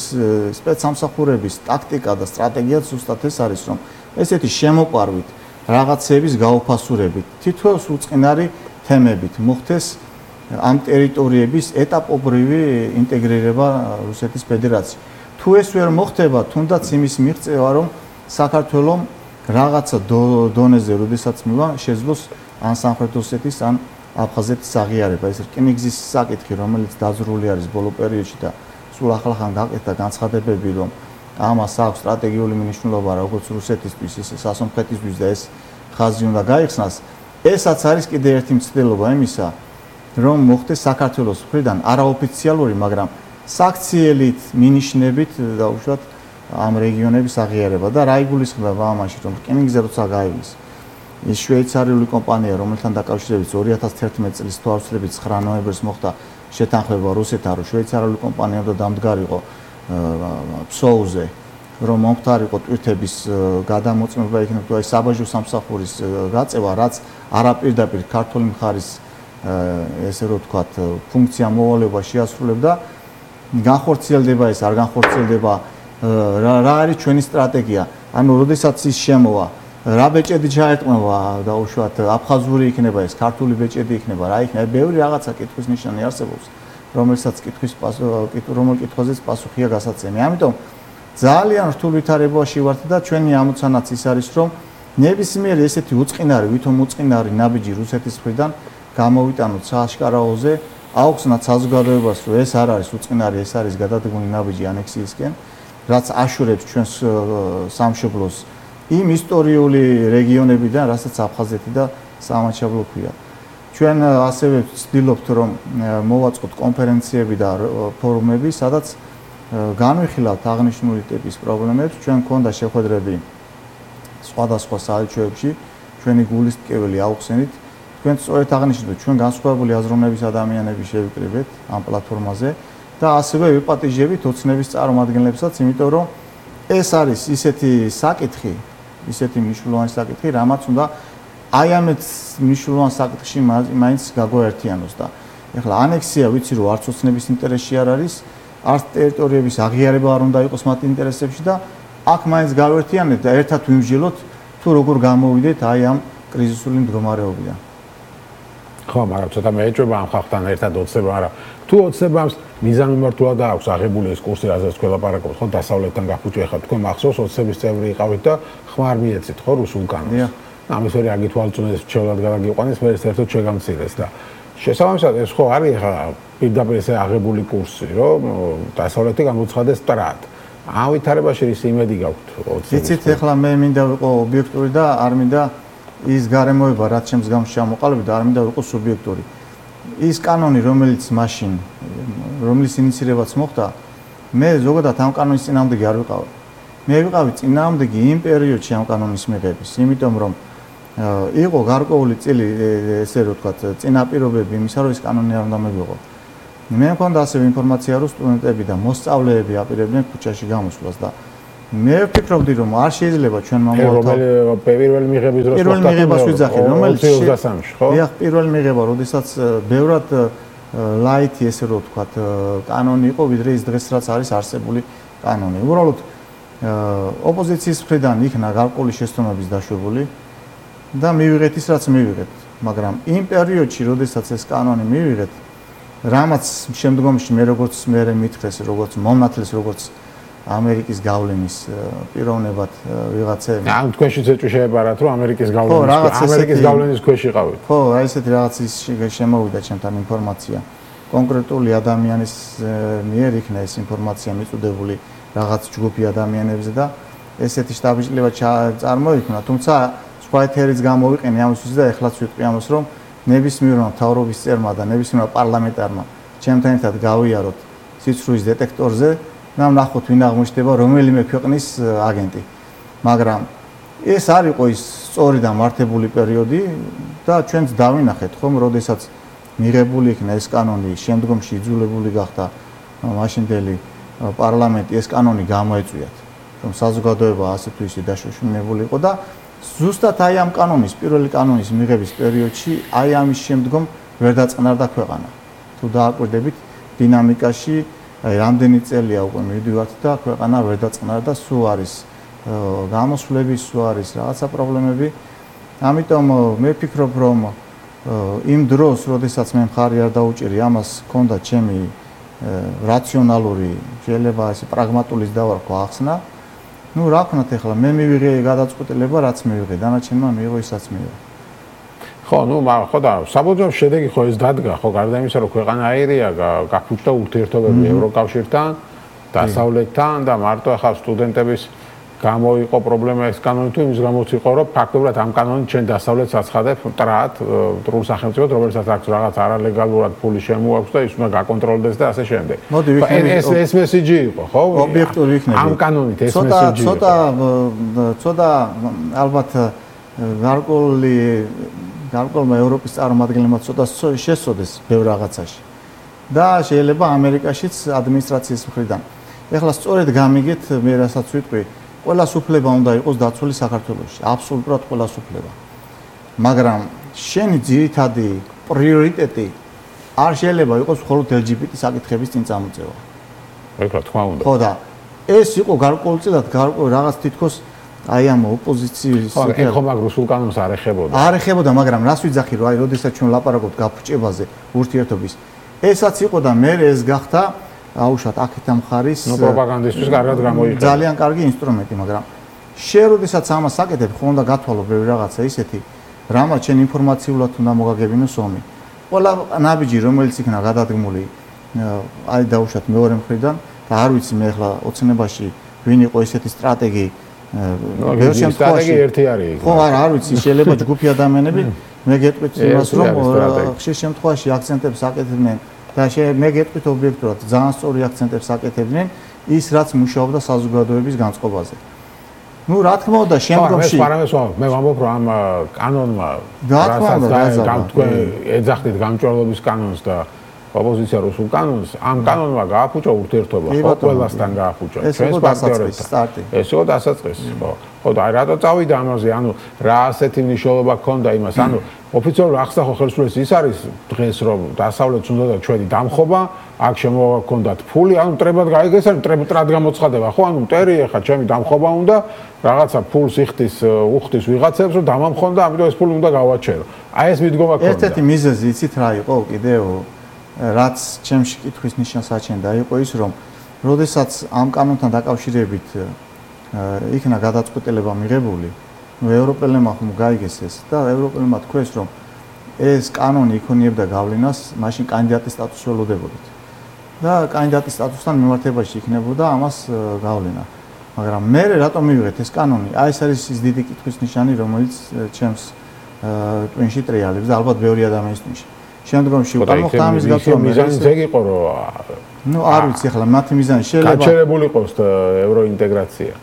სპეცსამსახურების ტაქტიკა და სტრატეგია ზუსტად ეს არის, რომ ესეთი შემოყვარვით რაღაცების გაუფასურებით, თითოეულ უწყინარი თემებით მოხდეს ამ ტერიტორიების ეტაპობრივი ინტეგრირება რუსეთის ფედერაციაში. თუ ეს ვერ მოხდება, თუნდაც იმის მიღწევა, რომ საქართველოს რაღაცა დონეზე, როდესაც მივა, შეძლოს ან სამხრეთ ოსეთის, ან აფხაზეთის აღიარება. ეს რკინიგზის საკითხი, რომელიც დაზრული არის ბოლო პერიოდში და სულ ახლახან გაკეთდა განცხადებები, რომ ამას აქვს სტრატეგიული მნიშვნელობა როგორც რუსეთისთვის, ისე სასონხეთისთვის და ეს ხაზი უნდა გაიხსნას. ესაც არის კიდევ ერთი მცდელობა იმისა, რომ მოხდეს საქართველოს მხრიდან არაოფიციალური, მაგრამ საქციელით, მინიშნებით დაუშვათ ამ რეგიონების აღიარება და რა იგულისხმება ამაში, რომ რკინიგზა როცა გაივლის ის შვეიცარიული კომპანია, რომელთან დაკავშირებით ორი ათას თერთმეტი წლის თვალსაჩინო ცხრა ნოემბერს მოხდა შეთანხმება რუსეთთან, რომ შვეიცარიული კომპანია უნდა დამდგარიყო ფსოუზე, რომ მომხდარიყო ტვირთების გადამოწმება იქნება თუ აი საბაჟო სამსახურის გაწევა, რაც არაპირდაპირ ქართული მხარის ესე რომ ვთქვათ, ფუნქცია მოვალეობა შეასრულებდა, განხორციელდება ეს, არ განხორციელდება, რა არის ჩვენი სტრატეგია? ანუ, როდესაც ის შემოვა, რა ბეჭედი ჩაეტყმება, დაუშვათ, აფხაზური იქნება ეს, ქართული ბეჭედი იქნება, რა იქნება, ბევრი რაღაცა კითხვის ნიშანი არსებობს, რომელსაც კითხვის რომელ კითხვაზეც პასუხია გასაცემი. ამიტომ ძალიან რთულ ვითარებაში ვართ და ჩვენი ამოცანაც ის არის, რომ ნებისმიერი ესეთი უწყინარი, ვითომ უწყინარი ნაბიჯი რუსეთის მხრიდან გამოვიტანოთ სააშკარაოზე, აუხსნათ საზოგადოებას, რომ ეს არ არის უწყინარი, ეს არის გადადგმული ნაბიჯი ანექსიისკენ, რაც აშორებს ჩვენს სამშობლოს იმ ისტორიული რეგიონებიდან, რასაც აფხაზეთი და სამაჩაბლო ქვია. ჩვენ ასევე ვცდილობთ, რომ მოვაწყოთ კონფერენციები და ფორუმები, სადაც განვიხილავთ აღნიშნული ტიპის პრობლემებს. ჩვენ გქონდა შეხვედრები სხვადასხვა საელჩოებში, ჩვენი გულისტკიველი აუხსენით. თქვენ სწორედ აღნიშნეთ, ჩვენ განსხვავებული აზროვნების ადამიანები შევიკრიბეთ ამ პლატფორმაზე და ასევე ვიპატიჟებით ოცნების წარმომადგენლებსაც, იმიტომ რომ ეს არის ისეთი საკითხი, ისეთი მნიშვნელოვანი საკითხი, რამაც უნდა აი ამეთ მნიშვნელოვან საკითხში მაინც გაგვაერთიანოს და ეხლა ანექსია ვიცი რომ არც ოცნების ინტერესში არ არის, არც ტერიტორიების აღიარება არ უნდა იყოს მათ ინტერესებში და აქ მაინც გავერთიანეთ და ერთად ვიმსჯელოთ თუ როგორ გამოვიდეთ აი ამ კრიზისული მდგომარეობიდან. ხო, მაგრამ ცოტა მეეჭვება ამ ხალხთან ერთად ოცნება, არა. თუ ოცნებამ მიზანმიმართულად აქვს აღებული ეს კურსი, რაზეც გველაპარაკობთ, ხო, დასავლეთთან გაფუჭე ხართ, თქვენ მახსოვს ოცნების წევრი იყავით და ხმარ მიეცით, ხო, რუსულ კანონს. ამის ვერი აგითვალწუნეს, ჩევლად გადაგიყვანეს, მე ერთად შეგამცირეს და შესაბამისად ეს ხო არის ხა პირდაპირ ესე აღებული კურსი, რომ დასავლეთი გამოცხადეს სტრად. ამ ვითარებაში რის იმედი გაქვთ ოცნების? იცით, ეხლა მე მინდა ვიყო ობიექტური და არ მინდა ის გარემოება, რაც ჩემს გამში ჩამოყალიბდა, არ მინდა ვიყო სუბიექტური. ის კანონი, რომელიც მაშინ, რომლის ინიცირებაც მოხდა, მე ზოგადად ამ კანონის წინააღმდეგი არ ვიყავი. მე ვიყავი წინააღმდეგი იმ პერიოდში ამ კანონის მიღების, იმიტომ რომ იყო გარკვეული წილი, ესე რომ ვთქვათ, წინაპირობები იმისა, რომ ეს კანონი არ უნდა მივიღო. მე მქონდა ასევე ინფორმაცია, რომ სტუდენტები და მოსწავლეები აპირებდნენ ქუჩაში გამოსვლას და მე ვფიქრობდი, რომ არ შეიძლება ჩვენ მომავალ პირველი მიღების დროს პირველი მიღებას ვიძახი, რომელიც ოცი ოცდასამში, ხო? დიახ, პირველი მიღება, როდესაც ბევრად ლაითი, ესე რომ ვთქვათ, კანონი იყო, ვიდრე ის დღეს რაც არის არსებული კანონი. უბრალოდ ოპოზიციის მხრიდან იქნა გარკვეული შეცდომების დაშვებული და მივიღეთ ის, რაც მივიღეთ, მაგრამ იმ პერიოდში, როდესაც ეს კანონი მივიღეთ, რამაც შემდგომში მე როგორც მე მითხრეს, როგორც მომნათლეს, როგორც ამერიკის გავლენის პიროვნებად ვიღაცები. ან თქვენშიც ეჭვი შეებარათ, რომ ამერიკის გავლენის ამერიკის გავლენის ქვეშ იყავით. ხო, აი ესეთი რაღაც ის შემოვიდა ჩემთან ინფორმაცია. კონკრეტული ადამიანის მიერ იქნა ეს ინფორმაცია მიწოდებული რაღაც ჯგუფი ადამიანებზე და ესეთი შტაბ-ბიჭლება წარმოიქმნა, თუმცა სხვა ეთერიც გამოვიყენე ამისთვის და ეხლაც ვიტყვი ამას, რომ ნებისმიერმა მთავრობის წერმა და ნებისმიერმა პარლამენტარმა ჩემთან ერთად გავიაროთ სიცრუის დეტექტორზე და ვნახოთ ვინ აღმოჩნდება რომელიმე ქვეყნის აგენტი. მაგრამ ეს არ იყო ის სწორი და მართებული პერიოდი და ჩვენც დავინახეთ ხომ, როდესაც მიღებული იქნა ეს კანონი, შემდგომში იძულებული გახდა მაშინდელი პარლამენტი ეს კანონი გამოეწვიათ, რომ საზოგადოება ასე თუ ისე დაშოშმინებული იყო და ზუსტად აი ამ კანონის, პირველი კანონის მიღების პერიოდში, აი ამის შემდგომ ვერ დაწყნარდა ქვეყანა. თუ დააკვირდებით დინამიკაში, აი რამდენი წელია უკვე მივდივართ და ქვეყანა ვერ დაწყნარდა, სულ არის გამოსვლები, სულ არის რაღაცა პრობლემები. ამიტომ მე ვფიქრობ, რომ იმ დროს, როდესაც მე მხარი არ დაუჭირი, ამას ჰქონდა ჩემი რაციონალური, შეიძლება ესე პრაგმატულის დავარქვა ახსნა. ну რა ვქნათ ახლა მე მივიღე გადაწყვეტილება რაც მივიღე დანარჩენმა მიიღო ისაც მიიღო ხო ну მაგრამ ხო და საბოლოო შედეგი ხო ეს დადგა ხო გარდა იმისა რომ ქვეყანა აირია გაფუჭდა ურთიერთობები ევროკავშირთან დასავლეთთან და მარტო ახლა სტუდენტების გამოიყო პრობლემა ეს კანონი თუ იმის გამოც იყო რომ ფაქტობრივად ამ კანონით ჩვენ დასავლეთს აცხადებ ტრად ტრულ სახელმწიფოდ რომელსაც აქვს რაღაც არალეგალურად ფული შემოაქვს და ის უნდა გაკონტროლდეს და ასე შემდეგ. ეს ეს მესიჯი იყო ხო? ობიექტური იქნება. ამ კანონით ეს მესიჯი იყო. ცოტა ცოტა ალბათ გარკვეული გარკვეულმა ევროპის წარმომადგენლებმა ცოტა შესწოდეს ბევრ რაღაცაში. და შეიძლება ამერიკაშიც ადმინისტრაციის მხრიდან. ეხლა სწორედ გამიგეთ მე რასაც ვიტყვი, ყველა სუფლება უნდა იყოს დაცული საქართველოში, აბსოლუტურად ყველა სუფლება. მაგრამ შენი ძირითადი პრიორიტეტი არ შეიძლება იყოს მხოლოდ ელ ჯი ბი ტი საკითხების წინ წამოწევა. ეხლა თქვა უნდა. ხო და ეს იყო გარკვეულწილად გარკვეულ რაღაც თითქოს აი ამ ოპოზიციის ხო, ეხლა მაგ რუსულ კანონს არ ეხებოდა. არ ეხებოდა, მაგრამ რას ვიძახი რომ აი როდესაც ჩვენ ლაპარაკობთ გაფუჭებაზე ურთიერთობის, ესაც იყო და მე ეს გახდა აუშვათ აქეთ ამ ხარის ნუ პროპაგანდისტვის კარგად გამოიყენა. ძალიან კარგი ინსტრუმენტი, მაგრამ შენ როდესაც ამას აკეთებ, ხო უნდა გათვალო ბევრი რაღაცა ისეთი, რამაც შენ ინფორმაციულად უნდა მოგაგებინოს ომი. ყველა ნაბიჯი რომელიც იქნა გადადგმული აი დაუშვათ მეორე მხრიდან და არ ვიცი მე ახლა ოცნებაში ვინ იყო ესეთი სტრატეგი ბევრ შემთხვევაში ერთი არის. ხო არა არ ვიცი შეიძლება ჯგუფი ადამიანები მე გეტყვით იმას რომ ხშირ შემთხვევაში აქცენტებს აკეთებდნენ და მე გეტყვით ობიექტურად ძალიან სწორი აქცენტებს აკეთებდნენ ის რაც მუშაობდა საზოგადოების განწყობაზე. ну რა თქმა უნდა შემდგომში მე ვამბობ რომ ამ კანონმა რასაც თქვენ ეძახდით გამჭვირვალობის კანონს და ოპოზიცია რუსულ კანონს ამ კანონმა გააფუჭა ურთიერთობა ხო ყველასთან გააფუჭა ჩვენს პარტნიორებთან ეს იყო დასაწყისი ხო ხო და რატო წავიდა ამაზე ანუ რა ასეთი მნიშვნელობა ჰქონდა იმას ანუ ოფიციალურ ახსნახო ხელისუფლების ის არის დღეს რომ დასავლეთს უნდა და ჩვენი დამხობა აქ შემოგაქონდათ ფული ანუ ტრებად გაიგეს ანუ ტრად გამოცხადება ხო ანუ მტერი ახლა ჩემი დამხობა უნდა რაღაცა ფულს იხდის უხდის ვიღაცებს რომ დამამხონ და ამიტომ ეს ფული უნდა გავაჩერო აი ეს მიდგომა ქონდა ერთ-ერთი მიზეზი იცით რა იყო კიდევ რაც ჩემში კითხვის ნიშანს აჩენდა იყო ის რომ როდესაც ამ კანონთან დაკავშირებით იქნა გადაწყვეტილება მიღებული ნუ ევროპელებმა ხომ გაიგეს ეს და ევროპელებმა თქვეს რომ ეს კანონი იქონიებდა გავლენას მაშინ კანდიდატის სტატუსს ველოდებოდით და კანდიდატის სტატუსთან მიმართებაში იქნებოდა ამას გავლენა მაგრამ მე რატომ მივიღეთ ეს კანონი აი ეს არის ის დიდი კითხვის ნიშანი რომელიც ჩემს ტვინში ტრიალებს და ალბათ ბევრი ადამიანის ტვინში შემდგომში უკვე მოხდა ამის გაცნობა მიზანი ეგ იყო რომ ნუ არ ვიცი ახლა მათი მიზანი შეიძლება გაჩერებული იყოს ევროინტეგრაცია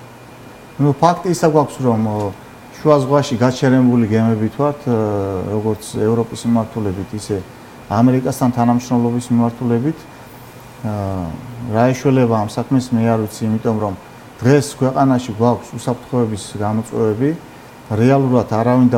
ნუ ფაქტი ისა გვაქვს რომ შუა ზღვაში გაჩერებული გემებით ვართ როგორც ევროპის მიმართულებით ისე ამერიკასთან თანამშრომლობის მიმართულებით რა ეშველება ამ საქმეს მე არ ვიცი იმიტომ რომ დღეს ქვეყანაში გვაქვს უსაფრთხოების გამოწვევები რეალურად არავინ